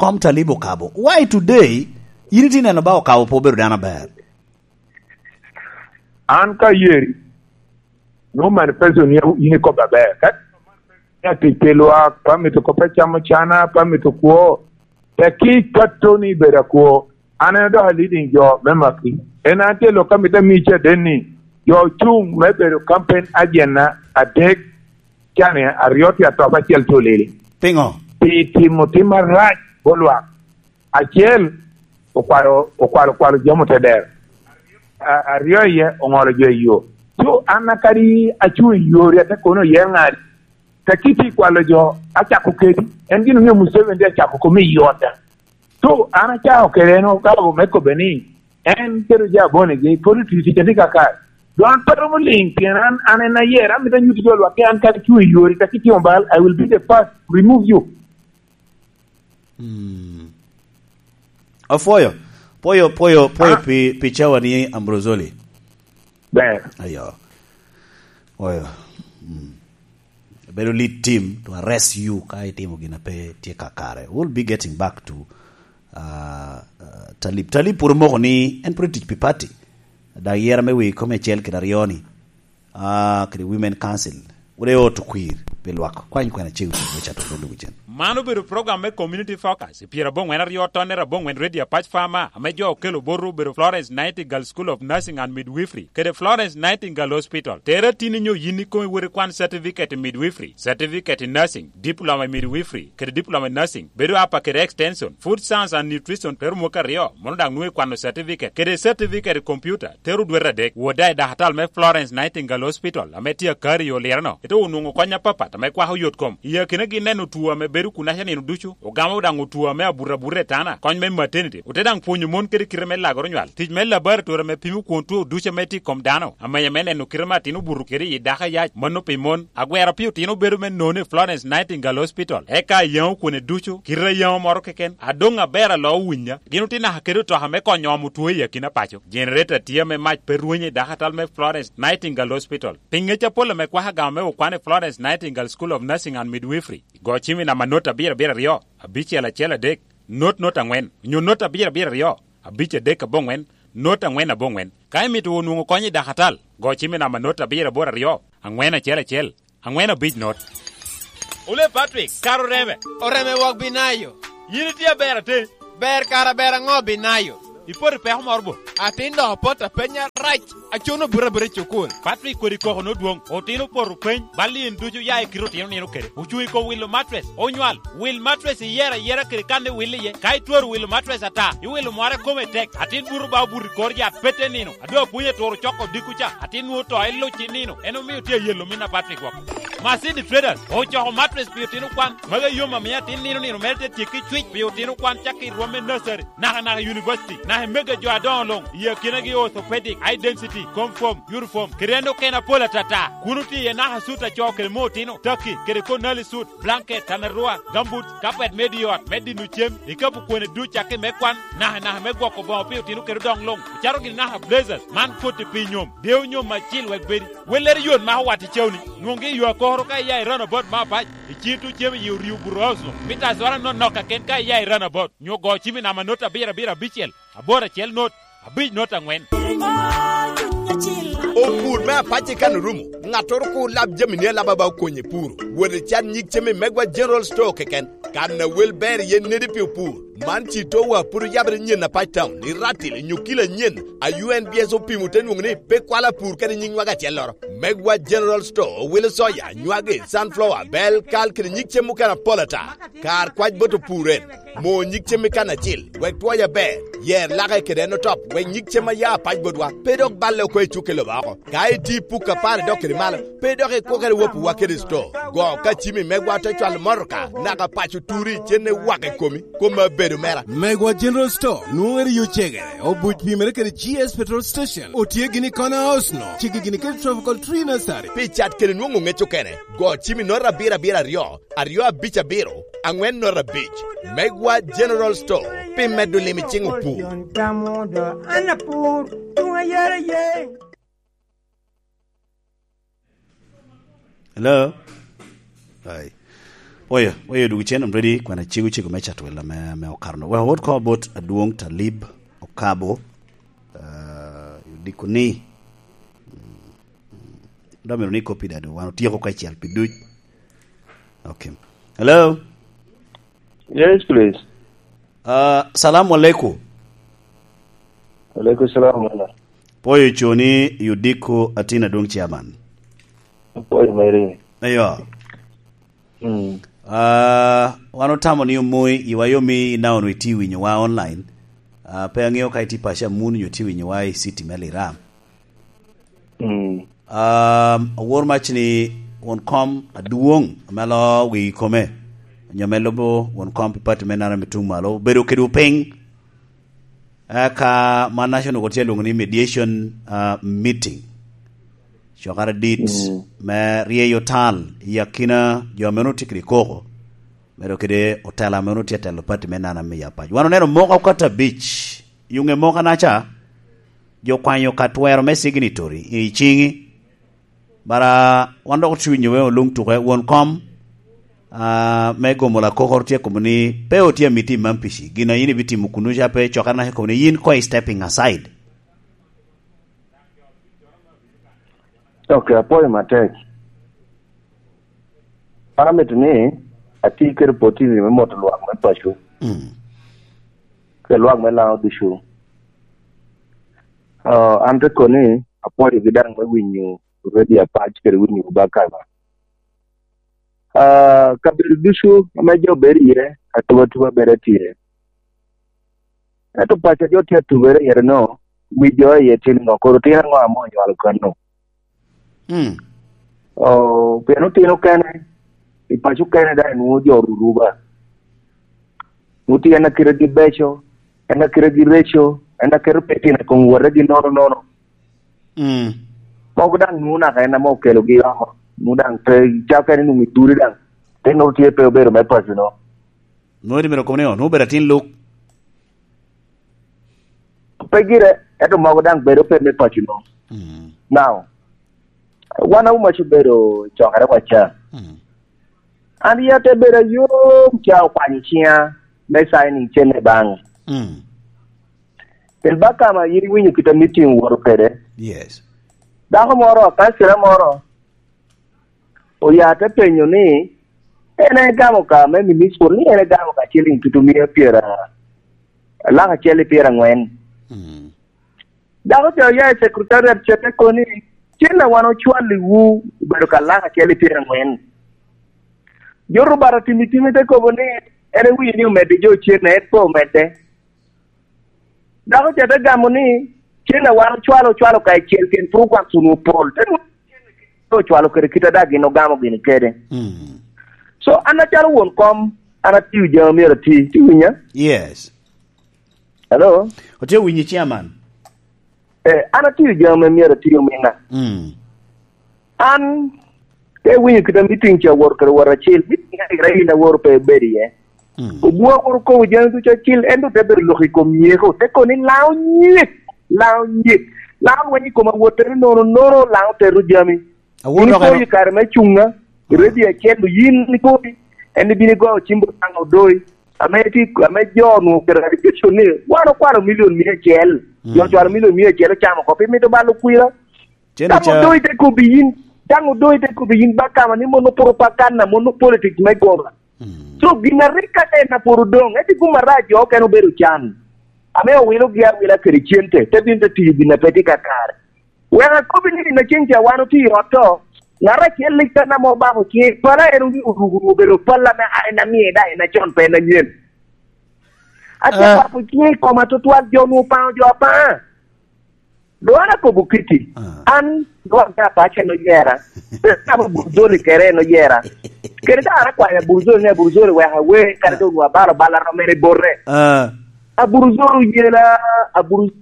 kom Talib Okabo. Why today, yin itye neno ba Okabo pe obedo dano aber? An ka yeri, no manifesto ni yin ikobo aber. Ka ya tic pi lwak, pa mito kop acamo cana, pa mito kwo. Teki ka Tony bedo akwo, an en dok a leading jo me maki. En an tye lok ka mito ami caden ni, jo ocuŋ me bedo campaign agent na adek, cani aryo tye atop acel tye olili. Piŋo? Pi timo tim arac bo lwak. Acel, okwalo, okwalo, okwalo jami otedero. A-, aryo iye, oŋolo jo i yo. So, an a kadi acuŋ i yori, ate kono oye ŋadi. Ka kiti kwalo jo, acako kedi. En gin omio Museveni acako kome i yota. So, an acako kede en okabo me kobe ni, en kede jo abonegi, pwod otio tic atika kare. Dwan pe romo liŋ, pien an, an en ayer, amito anyutti jo lwak, an kadi cuŋ i yori, ka kiti bal, I will be the first to remove you. Mm. Apwoyo, pwoyo, pwoyo, pwoyo Ah. pi, pi cawa ni Ambrosoli. Ber. Ayo. Oyo. Mm. Bedo lead team to arrest you ka itimo gin a pe tye kakare. We'll be getting back to, uh, uh, Talib. Talib pwod omoko ni en pwod tic pi party. Dak yera me wi kome acel kede aryo ni. Ah, kede Women Council. Wode oto kwir pi lwak. Kwany kwena cego cego me cato olo wicen. Man obedo program me Community Focus, i pyerabongwen aryo tonne rabongwen Radio Apac Farmer, ame jo okelo botwu obedo Florence Nightingale School of Nursing and Midwifery, kede Florence Nightingale Hospital. Tere atini nyo yin ikomi wot ikwan certificate in midwifery, certificate in nursing, diploma in midwifery, kede diploma in nursing, bedo apa kede extension, food science and nutrition, tero mwaka aryo, mono daŋ nwoŋo ikwano certificate, kede certificate i computer, tero dwete adek, wot daŋ i dakatal me Florence Nightingale Hospital, ame tye akari i Olireno, ite onwoŋo kony apapat ame kwako yot kom. I akinagi neno two ame bedo kunaca nino ducu, ogamo daŋ two ame abuto abuta i tana, kony me maternity, ote daŋ pwonyo mon kede kite me lagoro nywal, tic me laboratory ame pimo kwon two ducu ame tye i kom dano, amenya me neno kite me atin obuto kede i dako ayac, mano pi mon, agwero pi otino bedo me nono i Florence Nightingale Hospital, eka ayaŋo kwone ducu, kite ayaŋo moro keken, adoŋ aber alo winya, gin otye naka kede otoka me konyo omo two i akina paco. Generator tye ame mac pe rwenyo i dakatal me Florence Nightingale Hospital. Pi ngec apol ame kwako agama me okwan i Florence Nightingale School of Nursing and Midwifery, go cim i namba not abiro abiro aryo, abicel acel adek, not not angwen, onyo not abiro abiro aryo, abic adek abongwen, not angwen abongwen. Ka imito wunu nwoŋo kony i dakatal, go cim i namba not abiro aboro aryo, angwen acel acel, angwen abic not. Ole Patrick, kara oreme? Oreme wok Binayo. Yin itye aber ate? Ber kara ber aŋo Binayo? Ipoto i peko moro bo? Atin dok opot apenya rac. Acuno buto abuta i cukul. Patrick kodi koko nodwoŋ. Otino opoto peny. Bal in ducu ya i kite otino nino kede. Ocuŋ i kom wilo matres. Onywal. Wil matres iyero ayera kede kan iwil iye. Ka itwero wilo matres ata, iwilo mware kome tek. Atin buto ba obuto i kor yat pete nino. Ado apwony aturo coko dikku ca. Atin nwoŋo to iluc i nino. En omio tye ayelo min a Patrick woko. Masidi Traders ocoko matres pi otino kwan. Magi yom amio atin nino nino mere te tyekki cwic pi otino kwan cakki i rwom me nursery, naka naka i university, naka i mege jo adoŋo luŋ, i akinagi orthopedic, high density, comfort, uniform, kede en okene apol atata. Kun otye iye naka sut a co kede me otino, taki, kede konali sut, blanket, tanarua, gambut, kapet me di ot, me dino cem, ikapu kwene duc cakki me kwan, naka naka me gwoko boŋo pi otino kede odoŋ luŋ, ocato gini naka blazers, man koti pi nyom, dew nyom acil wek bedi. Wellere yot mako wat i cawni, nwoŋgi i yo akokoro ka iya i runabout me apac, i cito cem i orio buto house-nu, mita azwara nonok kaken ka iya i runabout, nyo go cim i namba not abiro abiro abicel, aboro acel not, abic not angwen. Opur me apac i kan orumo, ŋattoro kur lab jamini alaba ba okonye puro. Wot icat nyig cem i Megwa General Store keken, kan a wel ber iye nedi pi opur. Man ci towa pwod oyabere nyen apac town, i Ratil, i Nyukila nyen, a U N B S opimo te nwoŋo ni pe kwalo apur kede nyiŋ nywage acelloro. Megwa General Store owilo soya, nywage, sunflower, bel, kal kede nyig cem mukene apol ata. Kar kwac bot opur en. Mo nyig cem i kan acil, wek twoye aber. Yer lake kede en otop, wek nyig cem a ya apac botwa, pe dok balle oko i cukke lobo oko. Ka iti puk apar idok kede malo, pe dok ikwo kede wapuwa kede sto. Go ka cimi megwa te cwalo motoka, naka paco turi, cen iwako i komi, koma bedo mera. Megwa General Store, nwoŋere yo cegere, obuc pimere kede G S Petrol Station, otye gini i corner house no, cigi gini kede Tropical Tree Nursery. Pi cat kede nwoŋo ŋec okene, go cimi nota abiro abiro aryo, aryo abic abiro, angwen nota abic. Megwa General Store, Pi medo lim i cing opur. Hello? Ai. Oyo, oyo, duk cen, I'm ready. Kwan acego cego me Catwel ame, ame okato no. Well, what call about Adwong Talib Okabo? Uh, diko ni. Dok myero ni copy dado. Wan otyeko kacel pi duc. Okay. Hello? Yes, please. Uh, salamu alaikum. Alaikum salam, wala. Poyo coni, Yudiko Atina Dong Chairman. Poyo meri. Ayo. Mm. Uh, wan otamo ni omoi, iwa yomi ina ono iti winyo wa online. Uh, pe ang'eyo ka iti pacha mun nyo iti winyo wa i city me Liram. Mm. Um, awor mac ni won kom adwoŋ ame alo wi kome, onyo ame lubo won kom pi pati me nara me tuŋ malo, obedo kede piny. Eka man naca onwoŋo tye alwoŋo ni mediation, uh, meeting. Cokere dit, mm, me ryeyo tal i akina jo ame onwoŋo tye kede koko, medo kede otela ame onwoŋo tye atelo pati me nana me apac. Wan oneno moka okato abic, i oŋe moka naca, jo okwanyo ka twero me signatory i ciŋi. Bara wan dok otye winyo we oluŋ tuke, won kom, ah, me gomo lakokoro tye komo ni pe otye amiti i Mampici. Gin a yin ibitimo kunu ca pe cokere naca komo ni yin koŋ i stepping aside. Ok, apwoyo matek. An amito ni ati kede opportunity me moto lwak me paco. Mm. Kede lwak me Laŋo ducu. Ah, an te koni apwoyogi daŋ me winyo radio apac kede winyo bakama. Ah, kabedo ducu ame jo bedo iye, atuba tuba bedo tye. Ento paco jo tye atugere iye no, wi jo iye tye niŋo? Koro tyen aŋo ame onywalo kano? Mm. Oh, pien otino kene, i paco kene daŋ enwoŋo jo ruruba. Nwoŋo tye en akitegi beco, en akitegi reco, en aketo pe tino i kom wotegi nono nono. Mm. Mogo daŋ nwoŋo naka en ame okelogi oko. Nwoŋo daŋ pe, calo kene nwoŋo i turi daŋ. Te nwoŋo tye pe obedo me paco no. Nwoŋo iti mito kobo ni, oh, nwoŋo obedo atin luk. Pe gire, ento mogo daŋ bedo pe me paco no. Mm. Now, wan auma ci obedo cokere wa ca. Mm. An iya te bedo ayom ca okwanyo ciŋa me signing cene baŋ. Mm. Pien bakama yin iwinyo kit a meeting owoto kede. Yes. Dako moro, kancila moro, oya te penyo ni, en egamo ka me municipal, ni en egamo ka ciling tutu mia pyera, lak acel i pyera angwen. Mm. Dako ca oya i secretariat ca te koni, cen a wan ocwalliwu obedo ka lak acel i pyera angwen. Jo rubata timi timi te kobo ni, en ewinyo ni omedde jo cen, en pe omedde. Dako ca te gamo ni, cen a wan ocwalo, ocwalo ka icel, pien pwod okwak kun opol. Te nwoŋo ocwalo kede kit a daŋ gin ogamo gini kede. Mm. So, an acalo won kom, an atiyo jami myero ati. Ti winya? Yes. Hello? Otye winyi, chairman. Eh, an atiyo jami ame myero ati, ominna. Mm. An, te winyo kit a meeting ca wot kede wot acel, meeting a ira in aworo pe ibedo iye. Mm. Obua woro kobo jami ducu acil, ento te bedo lok i kom nyeko, te kono ni Laŋo nyek, Laŋo nyek. Laŋo lweny i kom awot, te ni nono, nono, Laŋo teto jami. Awor in dok ipo eno i kare me cuŋa, ah, ready acel, yin ipoti, en ibino igo cim bot Laŋo Odoi. Ame ti, ame jo onwoŋo kede reputation ni, wan okwalo milion mia acel. Mm. Jo ocwalo milion mia acel ocamo oko, pi mito balo kwira. Cen Daŋ oca- Odoi te kobbi yin, daŋ Odoi te kobbi yin bakama ni mono propaganda, mono politics me goba. Mm. So, gin a rik ka en apwod odoŋ, ento gum arac jo okene obedo can. Ame owilogi awila kede cente, te bino te tiyo gin a pe tye kakare. Wek akobbi ni, na cen ca wan otye i ot to, ŋat acel lik kan ame obako ciŋe, pala en oruko obedo pala me, a, en amie da, en acon pe en anyen. Ate, ah, bako ciŋe i koma tutwal, jo onwoŋo paŋo jo apaŋa. Doŋ an akobo kiti, ah, an doŋ an apaco en oyera. Pe kama Burzoli kere en oyera. Kede ka an akwanyo Aburzoli ni, "Aburzoli, wek awe," kadi doŋ onwoŋo abalo bal a romere bote. Ah. Aburzoli oyela, Aburzoli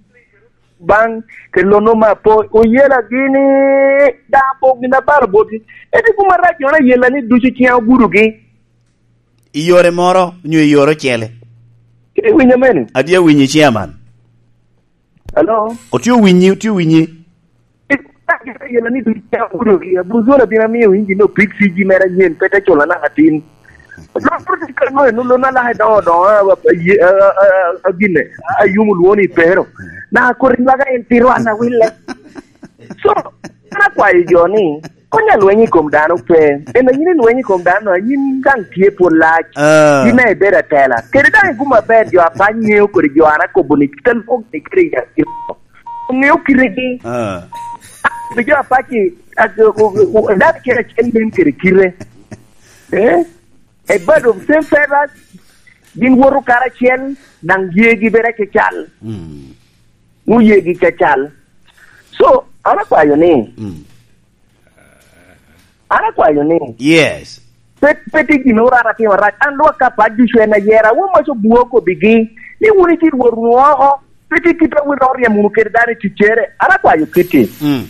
baŋ, kede lono me apo, oyela gini, daŋ apo gin abalo boti. Ento gum arac jo ayela ni ducu ciŋa ogudogi. I yore moro, nyo i yore ocele? Iwinyo mene? Adi awinyi, chairman. Hello? Otye owinyi, otye owinyi. Yela ni duc ya kudo ki, Abuzolo bino amiyo winji no pick C G mere anyen, pe te culo naka tin. Lok protocol mo enu lona laka doŋo doŋo, a, a, a, a, a, gine, a, a, yumo lwoni pero. Na kori laga en tiro an awille. So, an akwayo jo ni, kony alweny i kom dano pe. En a yin ilweny i kom dano, a yin daŋ tye pwod lac. Ah. Yin a ibedo atela. Kede daŋ iguma ber jo apac ŋeo kodi jo an akobo ni kite lwok ni kede i akino. Oŋeo kitegi. Ah. Bi jo apac i, a, o, o, o, dano kede acel nen kede kite. Eh? A bird of same feathers, gin woto karacel, daŋ yegi bedo acacal. Mm. Nwoŋo yegi cacal. So, an akwayo ni, mm. An akwayo ni, yes. Pe, pe tye gin oro an atimo rac. An lwak ka pat ducu en ayera. Won mac obwo kobigi. Ni wun iti Rwot wunu oko. Pe tye kit a wun oryem wunu kede dano i ticcere. An akwayo kiti. Mm.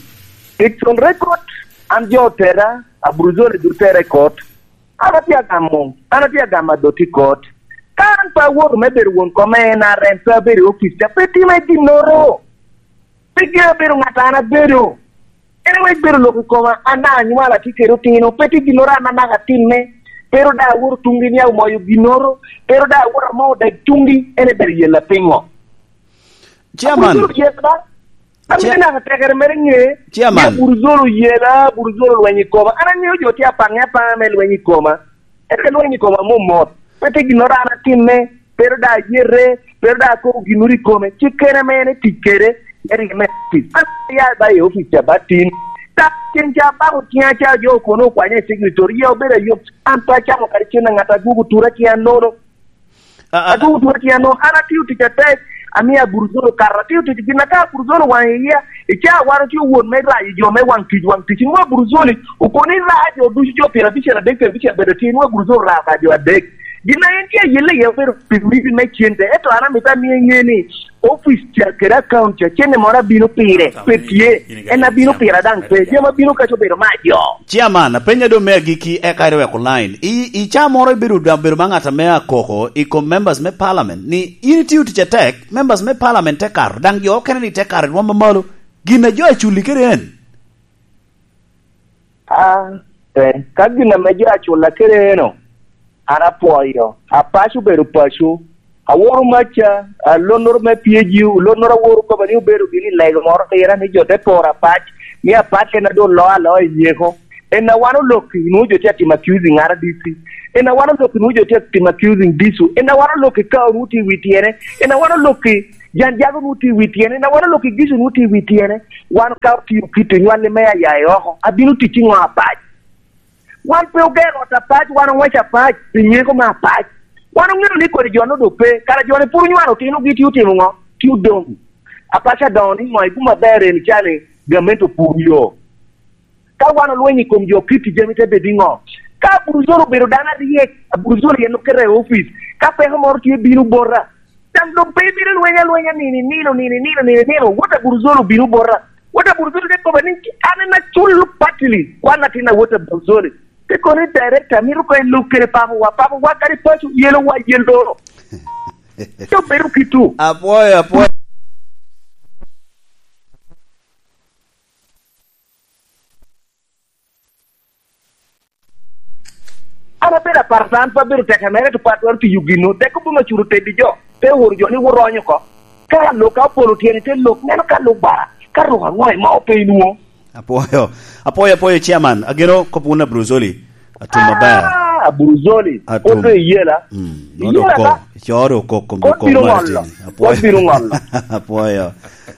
It's on record. An jo otera, Aburuzoli dutera i kot. An atye agamo, an atye agamo adot i kot. Ka an pe awoto me bedo won kom me N R M, pe abedo i opic ca, pe time ginnoro. Pe gin abedo ŋat an abedo. En wek bedo lok i koma, an daŋ anywalo atye kede otino, pe tye ginnoro an anaka atimme. Pero daŋ awoto tuŋgi ni amoyo ginnoro, pero daŋ awoto amao daŋ tuŋgi, en ebedo yella piŋo? Chairman. Aburuzolo yella. Ami Chair- naka tekere mere ŋe. Chairman. Ni Aburuzolo yella, Aburuzolo lweny i koma. An aŋeo jo tye apaŋe apaŋa me lweny i koma. Ete lweny i koma mot mot. Pe tye ginnoro an atimme, pero daŋ ayete, pero daŋ akobo ginnoro i kome. Ci kene ame en etic kede, en ryeme tic. An ya ba i opic ca ba tin. Ka cen ca abako ciŋa ca jo okono okwanya i secretary, ya obedo ayot. An pe acamo kadi cen a ŋat adwogo tura ciŋa nono. A, a, Adwogo tuo tyen no, an atio tic atek, amio Aburuzolo kato, atio tic gin aka Aburuzolo waŋ iya, i caa wan otye wot me rayo jo me waŋ tic, waŋ tic, nwoŋo Aburuzoli okono irayo jo ducu jo pyerabicel adek, pyerabicel bedo tye, nwoŋo Aburuzolo rayo ka jo adek. Gin a en tye ayelle iye obedo pi wigi me cente, ento an amito amio iŋe ni, opic ca kede account ca, cente moro abino pire, pe tye, en abino pira daŋ pe, jami abino kaco obedo me ajo. Chairman, apenya doŋ me agikki, eka irweko line. I, i caa moro ibedo daŋ bedo ma ŋat ame akoko i kom members me parliament ni in itio tic atek, members me parliament te kato, daŋ jo okene ni te kato i rwom mamalo. Gin a jo aculi kede en? Ah, eh, ka gin ame jo acula kede eno, an apwoyo. Apaco obedo paco. Aworo maca, a, lonnoro me P A G U, lonnoro aworo kobo ni obedo gini lego moro pira ni jo te poro Apac, ni Apac en a doŋ loo aloa i nyeko. En a wan olokki, nwoŋo jo tye atimo accusing R D C. En a wan olokki, nwoŋo jo tye atimo accusing disu. En a wan olokki ka onwoŋo tye i wi tyene. En a wan olokki, Jan Jago nwoŋo tye i wi tyene. En a wan olokki, Gicu nwoŋo tye i wi tyene. Wan ka otio kite nywalli me aya i oko, abino tic i ŋo Apac? Wan pe ogero ot Apac, wan oŋweco Apac, pi nyeko me Apac. Wan oŋeo ni kodi jo-nu doŋ pe, kara jo-ni pwod onywalo otinogi tye otimo ŋo? Tye odoŋ. Apac adoŋo ni ŋo? Iguma aber eni ca ni gamente opur yo. Ka wan olweny i kom jo Kitti, jami te bedo i ŋo? Ka Aburuzolo obedo dano aryek, Aburuzolo en okete i opic, ka peko moro tye bino bota, Daŋ doŋ pe ibino lweny alwenya nino i nino, nino i nino, nino i nino. Wot Aburuzolo obino bota. Wot Aburuzolo te koba ni, "An en acul patili, wan atin a wot Aburuzoli." Te kono ni, "Director, mito koŋ ilub kede papawa, papawa kadi paco yelowa yelo." Te obedo kito. Apwoyo, apwoyo. An abedo aparata, an pe abedo teke mere, to pe atwero tiyo gino. Dek obedo acuto teddi jo, te oro jo ni wot ony oko. Ka lok ka opolo tyene, te lok, neno ka lok bara, ka ruk aŋo ema ope inwo. Apwoyo, apwoyo, apwoyo, Chairman. Ageno kop wun Abruzoli. Atum maber. Ah, Abruzoli. Atum. Ote iyela. Mm, iyela oko. Ka? Coro oko kom. Kot biro ŋolo. Apwoyo. Kot biro ŋolo. Apwoyo.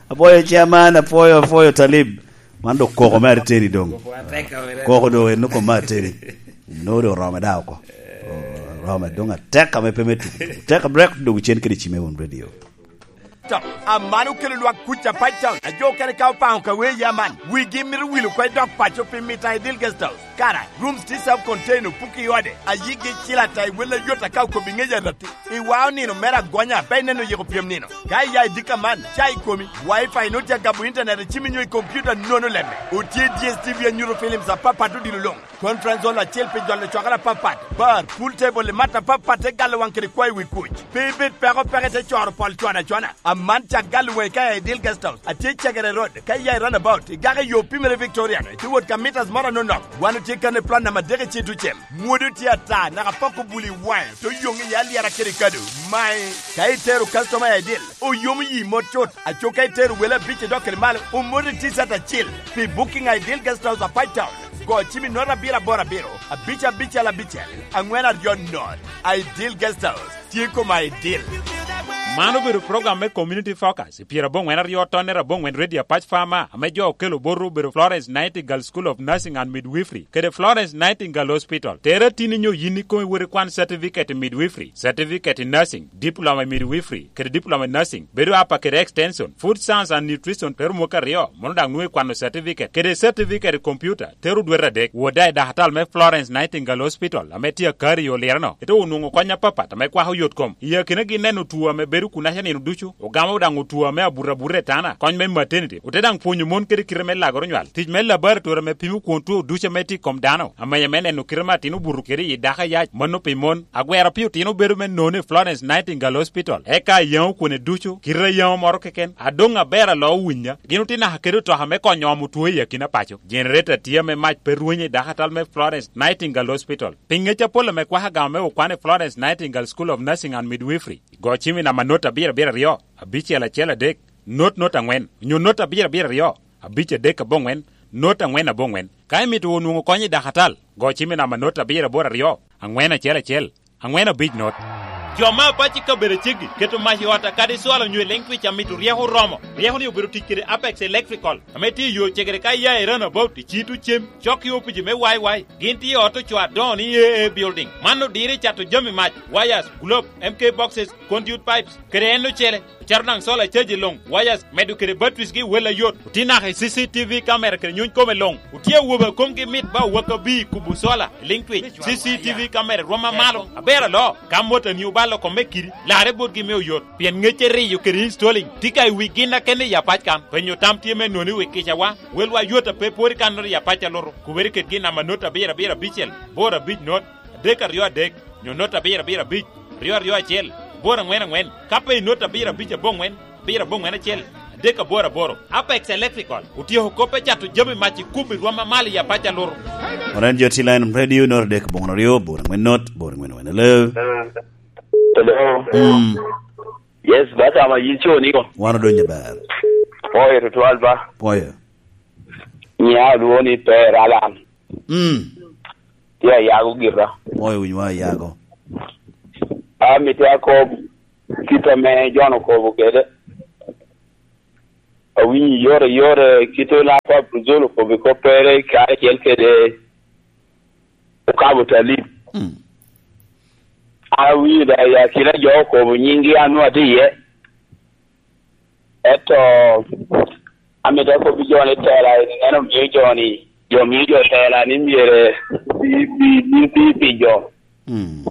Apwoyo, Chairman, apwoyo, apwoyo, Talib. Man dok koko me ateni doŋ. Koko doŋ en koko me ateni. No doŋ orome daŋ oko. Orome doŋ atek ame pe me tuko. Tek break doŋ cen kede Cime Won Radio. To, aman okelo lwak kuc a Pactown. Ajo okene ka opaŋo ka wee yaman. Wigi mito wilo kwe dok paco pi mita i Dil Guest House. Kara, rooms tye self contained, opuki i ode, ayigi icil ata i wel ayot aka okobo i ŋec arati. Iwao nino mere agonya, pe ineno yiko pyem nino. Ka iya i dika man, ca i komi, wifi nwoŋo tye agabo internet i cimi nyo i computer nono lemme. Otye D S T V anyuto films apapat odilo luŋ. Conference hall acel pi jolo cwakere apapat, bar, pool table i mat apapat te galo waŋ kede kwayo wi kuc. Pe ibed peko peke te coro pol cwana cwana. Aman cak galo waŋi ka i Dil Guest House, atye i Cegere Road, ka iya i runabout, igako i yo pimere Victoria, ite wot ka mitas moro anonok. Wan otye kan i plan namba adek i Citucem. Mwodo tye ata, naka pok obuli waŋe, to yoŋ i alyera kede kado. Mae, ka itero customer i Dil, oyomo yi mot cut, aco ka itero wele abic i dok kede malo, omot i T-shirt acil. Pi booking i Dil Guest House, Apac Town, go cim i not abiro aboro abiro, abic abicel abicel, aŋwen aryo not. I Dil Guest House, tye koma i Dil. Man obedo program me Community Focus, i pyeraboŋwen aryo tonne raboŋwen Radio Apac Farmer, ame jo okelo botwu obedo Florence Nightingale School of Nursing and Midwifery, kede Florence Nightingale Hospital. Tere atini nyo yin ikomi wot ikwan certificate i midwifery, certificate i nursing, diploma i midwifery, kede diploma i nursing, bedo apa kede extension, food science and nutrition, tero mwaka aryo, mono daŋ nwoŋo ikwano certificate, kede certificate i computer, tero dwete adek. Wot daŋ i dakatal me Florence Nightingale Hospital, ame tye akari i Olireno, ite onwoŋo kony apapat ame kwako yot kom. I akinagi neno two ame bedo kunaca nino ducu, ogamo daŋ two ame abuto abuta i tana, kony me maternity, ote daŋ pwonyo mon kede kite me lagoro nywal, tic me laboratory ame pimo kwon two ducu ame tye i kom dano, amenya me neno kite ame atin obuto kede i dako ayac, mano pi mon. Agwero pi otino bedo me nono i Florence Nightingale Hospital, eka ayaŋo kwone ducu, kite ayaŋo moro keken, adoŋ aber aloo winya. Gin otye naka kede otoka me konyo omo two i akina paco. Generator tye ame mac pe rwenyo i dakatal me Florence Nightingale Hospital. Pi ŋec apol ame kwaka gamo me okwan i Florence Nightingale School of Nursing and Midwifery, go cim i namba not abiro abiro aryo, abicel acel adek, not not aŋwen, onyo not abiro abiro aryo, abic adek aboŋwen, not aŋwen aboŋwen. Ka imito onwoŋo kony i dakatal, go cim i namba not abiro aboro aryo, aŋwen acel acel, aŋwen abic not. Jo me apac i kabedo aceggi keto mac i ot akadi cwalo onyo i liŋ twic amito ryeko oromo. Ryeko ni obedo tic kede Apex Electrical, ame tye i yo cegere ka iya i runabout i Cito Cem, cok i opici me Y Y. Gin tye i ot ocoo adoŋo ni A A Building. Man odiro i cato jami mac, wires, globe, M K boxes, conduit pipes, kede en ocele. Cato daŋ solar charge luŋ, wires, medo kede batteries gi wel ayot. Otye naka i C C T V camera kede nyuny kome luŋ. Otye awobe a komgi mit ba owaka bi i kubo solar, i liŋ twic. C C T V camera rwom amalo, aber aloo. Ka motoni obalo kome kidi, larre botgi me oyot. Pien ŋecce riyo kede installing tye ka i wi gin akene i apac kan. Penyo tam tye me noni wi kicawa. Welwa yot a pe pwod i kannoro i apac alutu. Kubere ked gin namba not abiro abiro abicel, boro abic not, adek aryo adek, nyo not abiro abiro abic, aryo aryo acel, boro aŋwen aŋwen. Ka pe i not abiro abic aboŋwen, abiro aboŋwen acel, adek aboro aboro. Apex Electrical otyeko kop me cato jami mac i kub i rwom amalo i apac alutu. Wan en jo T-Line Radio, not adek aboŋwen aryo, boro aŋwen not, boro aŋwen aŋwen. Hello. Hello. Mm. Yes, bata ma yin co niko. Wan odonyo ber. Pwoyo tutwal ba. Pwoyo. Nya luwo ni Per Alan. Mm. Tye ayago gira. Pwoyo winyo wa ayago. Amito akob kit ame John okobo kede. Awinyo yore yore kit ame Papa Abdul okobo i koppere karacel kede okabo Talib. Mm. An awinyo da i akina jo okobo nyinggi an nwa tye iye. Ento amito akobbi jo ni tela en omio jo ni, jo mio jo tela ni myero bi, bi, bi, bi pi jo. Mm.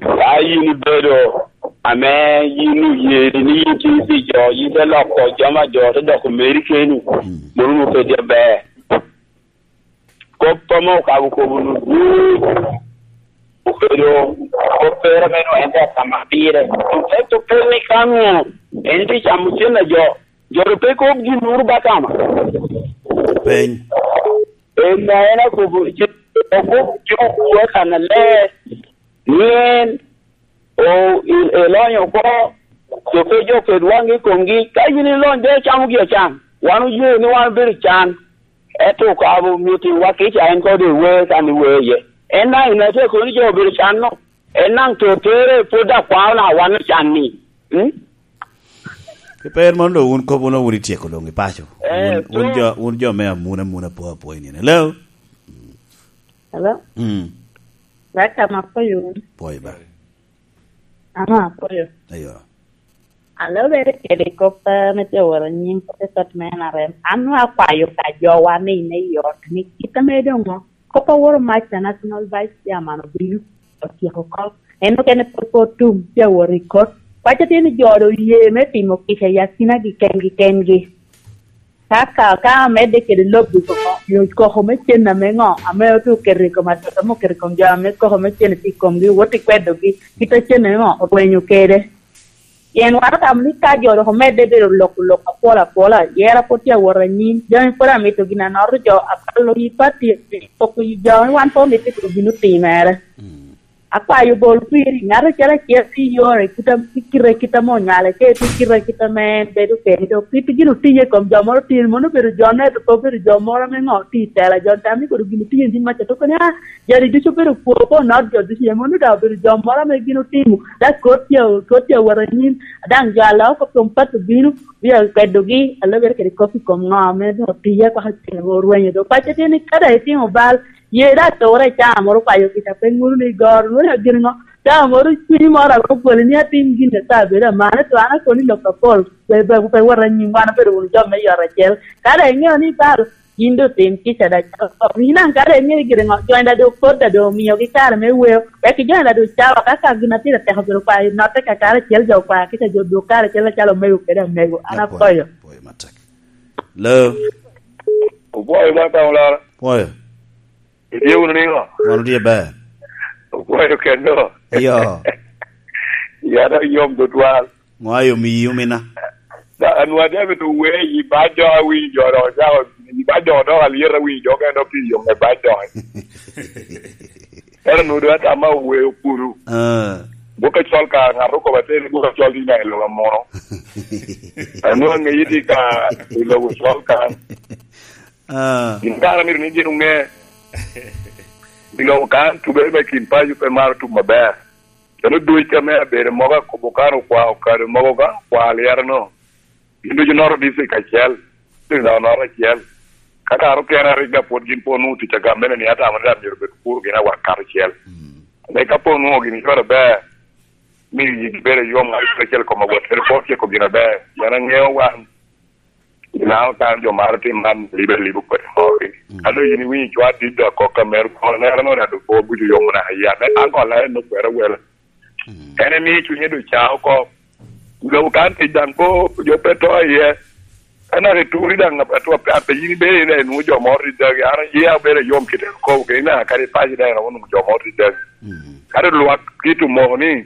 Ka yin ibedo ame yin oye ni yin tye pi jo, yin te loko jami a jo te doko meri keni, mm, mano nwoŋo pe tye aber. Kop ame okabo kobo-nu ducu obedo kop pere ame nwoŋo en te atamo pire. Ento pe ni ka nwoŋo en tye camo cen a jo, jo ru pe kop gin moro ba kama. Peny. En na en akobo, okobo cik okwo kannaler, ni en o-, i-, elonyo oko, jo pe jo ket waŋgi i komgi. Ka yin ilony, de icamo gi acan. Wan oye ni wan obedo i can. Ento okabo myero timwa kica en kode i wer kan i wer iye. En daŋ i nete kono ni jo obedo i can no. En daŋ to tere pwod daŋ kwao na wan ocan ni. Mm? Pi per mano doŋ wun kop wun, wun ityeko doŋ i paco. Eh, wun, wun so jo, wun jo me amuna amuna po apo i nino. Hello? Hello? Mm. Baka ma apoyo wun. Pwoyo ba. Ama apoyo. Ayo. Alobere kede kop, eh, me joworo nying kop i kot me N R M. An nwa akwayo ka jowa ni me yot ni kit ame doŋ o-, Kop a woro mac a National Vice Chairman obino otyeko oko. En okene pwod pe otum, tye awot i kot. Paco tye ni jo doŋ oye me timo kica i akinagi kengi kengi. Ka, ka, ka omedde kede lobbi koko, nyo koko me cen ame ŋo, ame ote oketo i kom adoda, ame oketo i kom jo ame koko me cen tye i komgi, wot ikwedogi, kit a cen ame ŋo, orwenyo kede. Pien wan otamo ni ka jo dok omedde bedo loko lok apol apola, yera pwod tye awot anyim, jami pwod amito gin anoto jo, apalo yi pati, poko yi jo, wan pe omito gin otimere. Akwayo bol kwiri, ŋat acel acel tye i yore, kit a, i kite, kit ame onywale, ka itye kite, kit ame en bedo kede, dok kit gin otiye i kom jo moro tye, mono obedo jo ne, to pe obedo jo moro ame ŋo tye i tela, jo tam ni kodo gin otiye ni maca, to koni, ah, jari ducu obedo kwo, pe onot jo ducu, mono daŋ obedo jo moro ame gin otimo, da kot tye, kot tye awot anyim, daŋ jo a loo kop kom pato bino, bia kwedogi, alobere kede kop i kom ŋo ame doŋ otiye, kwaka cen orwenyo, dok paco tye ni ka daŋ itimo bal, Ye daŋ atura i caa moro kwayo kica pe ŋuno ni igoro, nwoŋo gin ŋo? Caa moro cunyi moro a romo bwoli ni atim gin eka abedo amane, to an akoni lok apol, pe, pe, pe wot anyim, wan obedo wunu jo me yot acel. Ka daŋ iŋeo ni bal, yin doŋ tim kica daŋ calo kop. Yin daŋ ka daŋ iŋeo ni gire ŋo, jony daŋ doŋ pot daŋ doŋ omiogi kare me weo, wek ijony daŋ doŋ cawa, ka, ka gin atira tek obedo kwayo, notte kakare acel jo okwaya kica jo dwog kare acel acalo omego kede amego. An Apwoyo, akoyo. Apwoyo matek. Lo. Opwoyo ba ka olaro. Pwoyo. Itye wunu niŋo? Wan otye ber. Opwoyo keno. Iyo. Yada yom tutwal. Ŋo ayo miyi omina? Da, anwa David owe i ba jo awinyo jo dok ocako, i ba jo dok alyet awinyo jo kene dok pi yom me ba jo. Ero nudo atama owe okuru. Ah. Gwok acol ka ŋat okobo atir ni gwok acol tye nyaŋ i lobo amono. Anwa ŋeyi tye ka i lobo col ka. Ah. Gin kara myero ni gin oŋe. I lobo kan tubere me kin paco pe maro tum aber. Calo duc ame abedo mogo akobo kan okwa okado mogo kan okwa alyerano. Gin ducu noto district acel, district dok noto acel. Ka kara okene arigga pwod gin pwod onwoŋo tic agam mene ni atamo ni myero obed kuro gin awak kato acel. Mm. Ame ka pwod onwoŋo gin cwero aber, miyo yigi bedo yom, ŋat acel acel kom awot kede pwod ciko gin aber. Pien aŋeo wan, Inano kan jo maro tim man libe libo kodi mogi. Mm. Ka doŋ yin iwinyo cwa dit dok kok ka mero kono nera no dado po buco yomo na ya. Me an kola en okwero wele. Mm. En emi cunye do ca oko. Lobo kan tic daŋ ko jo pe to iye. En ake turi daŋ ato pe yin ibe ine nu jo moro dit dagi. An ye abere yom kite ko ke ina kadi paji daŋ nu jo moro dit dagi. Mm. Kadi lwak kitu mo ni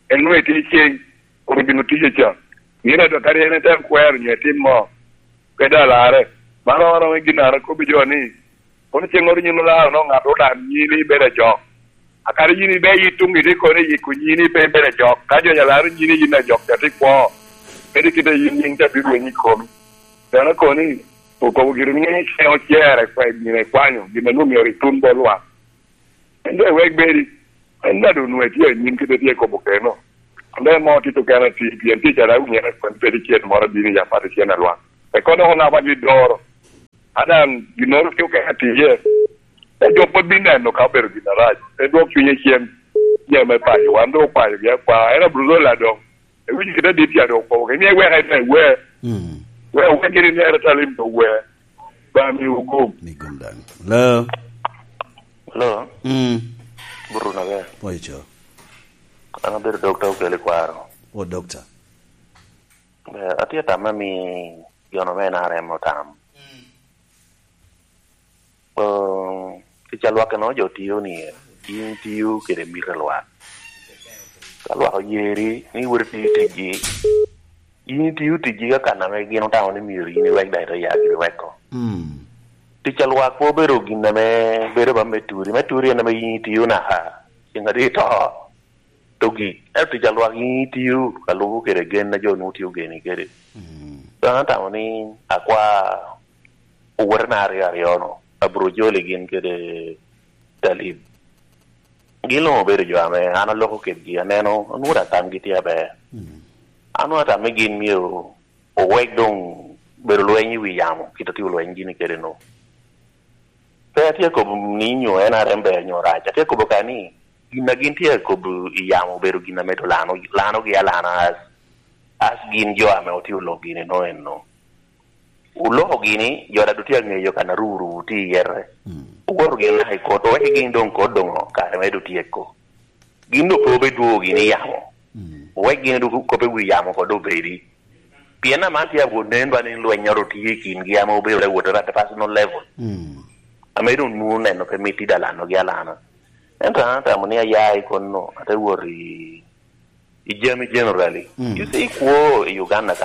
en nwe ti ceng. Kun gin otiye ca. Yin adwakari en ete kwero nyo etim mo. Pe daŋ larre. Man oromo i gin an akobbi jo ni, kono ceŋŋoro yin olaro no ŋat olam nyini ibedo ajok. Akadi yin ibe yit tuŋ ite kono iyiko nyini pe ibedo ajok. Ka jo ja laro nyini yin ajok, ca ti kwo. Kadi kite yin nyiŋ ca bino rwenyo i komi. Dano koni, okobo giri ni ŋeny ceŋ ocere kwe gin ekwanyo, gin a nwoŋo myero itun bot lwak. En doŋ wek bedi, en daŋ doŋ nwoŋo etye anyim kite tye kobo keno. Ame mo tito kena ti, pien tic a daŋ winyere kwen pedi cen moro abino i apat cen alwak. Eko dok onaba gi doro. A daŋ ginnoro tye okene atiye. Te jo pwod bin neno ka obedo gin arac. Te dwok cunye cen. Jami me payo, wan doŋ okwayo gi akwa. En abiro dola doŋ. Ewinyo kite dit ya doŋ okobo. Kemi wek en me we. Mm. We, we gini nere talim doŋ we. Ba mi hukum. Mi gum daŋ. Hello. Hello. Mm. Buruna be. Poi cho. An abedo dokta okele kwaro. O dokta. Be, atye tam ami yono me N R M otam. Mm. Oh, tic a lwak eno jo tiyo ni, in tiyo kede mito lwak. Ka lwak oyeri ni wot itiyo ticgi, in itiyo ticgi ka kan ame gin otamo ni myero in iwek daŋ ite ya giri weko. Mm. Tic a lwak pe obedo gin ame bedo ba me turi. Me turi en ame in itiyo naka, ceng adi ito, to gik. Ento tic a lwak in itiyo ka lubo kede gen a jo nwoŋo tye ogeni kede. Mm. Dok an atamo ni akwa owote na aryo aryo no, Aburujoli gin kede Talib. Gin luŋ obedo jo ame an aloko kedgi, aneno, anwoŋo daŋ tamgi tye aber. Mm. An nwoŋo atamo ni gin myero owek doŋ bedo lweny i wi yamo, kit a tye olweny gini kede no. Pe atye akobo ni nyo N R M ber nyo rac, atye akobo ka ni gin a gin tye akobo i yamo obedo gin a medo lano, lanogi alana as, as gin jo ame otye olok gini no eno. Oloko gini, jo daŋ tye aŋeyo kan aruru tye i yere. Owoto gini naka i kot, oweko gini doŋ kot doŋ kare me doŋ tyeko. Gin doŋ pe obedwogo gini i yamo. Owek gini doŋ kop i wi yamo kod obedi. Pien aman tye abwot nen ba ni lwennyoro tye i kingi ame obedo te wot at a personal level. Ame doŋ nwoŋo neno pe mit i dalanogi alana. Ento an atamo ni aya i konno, ate wot i, i jami generally. You see, kwo i Uganda ka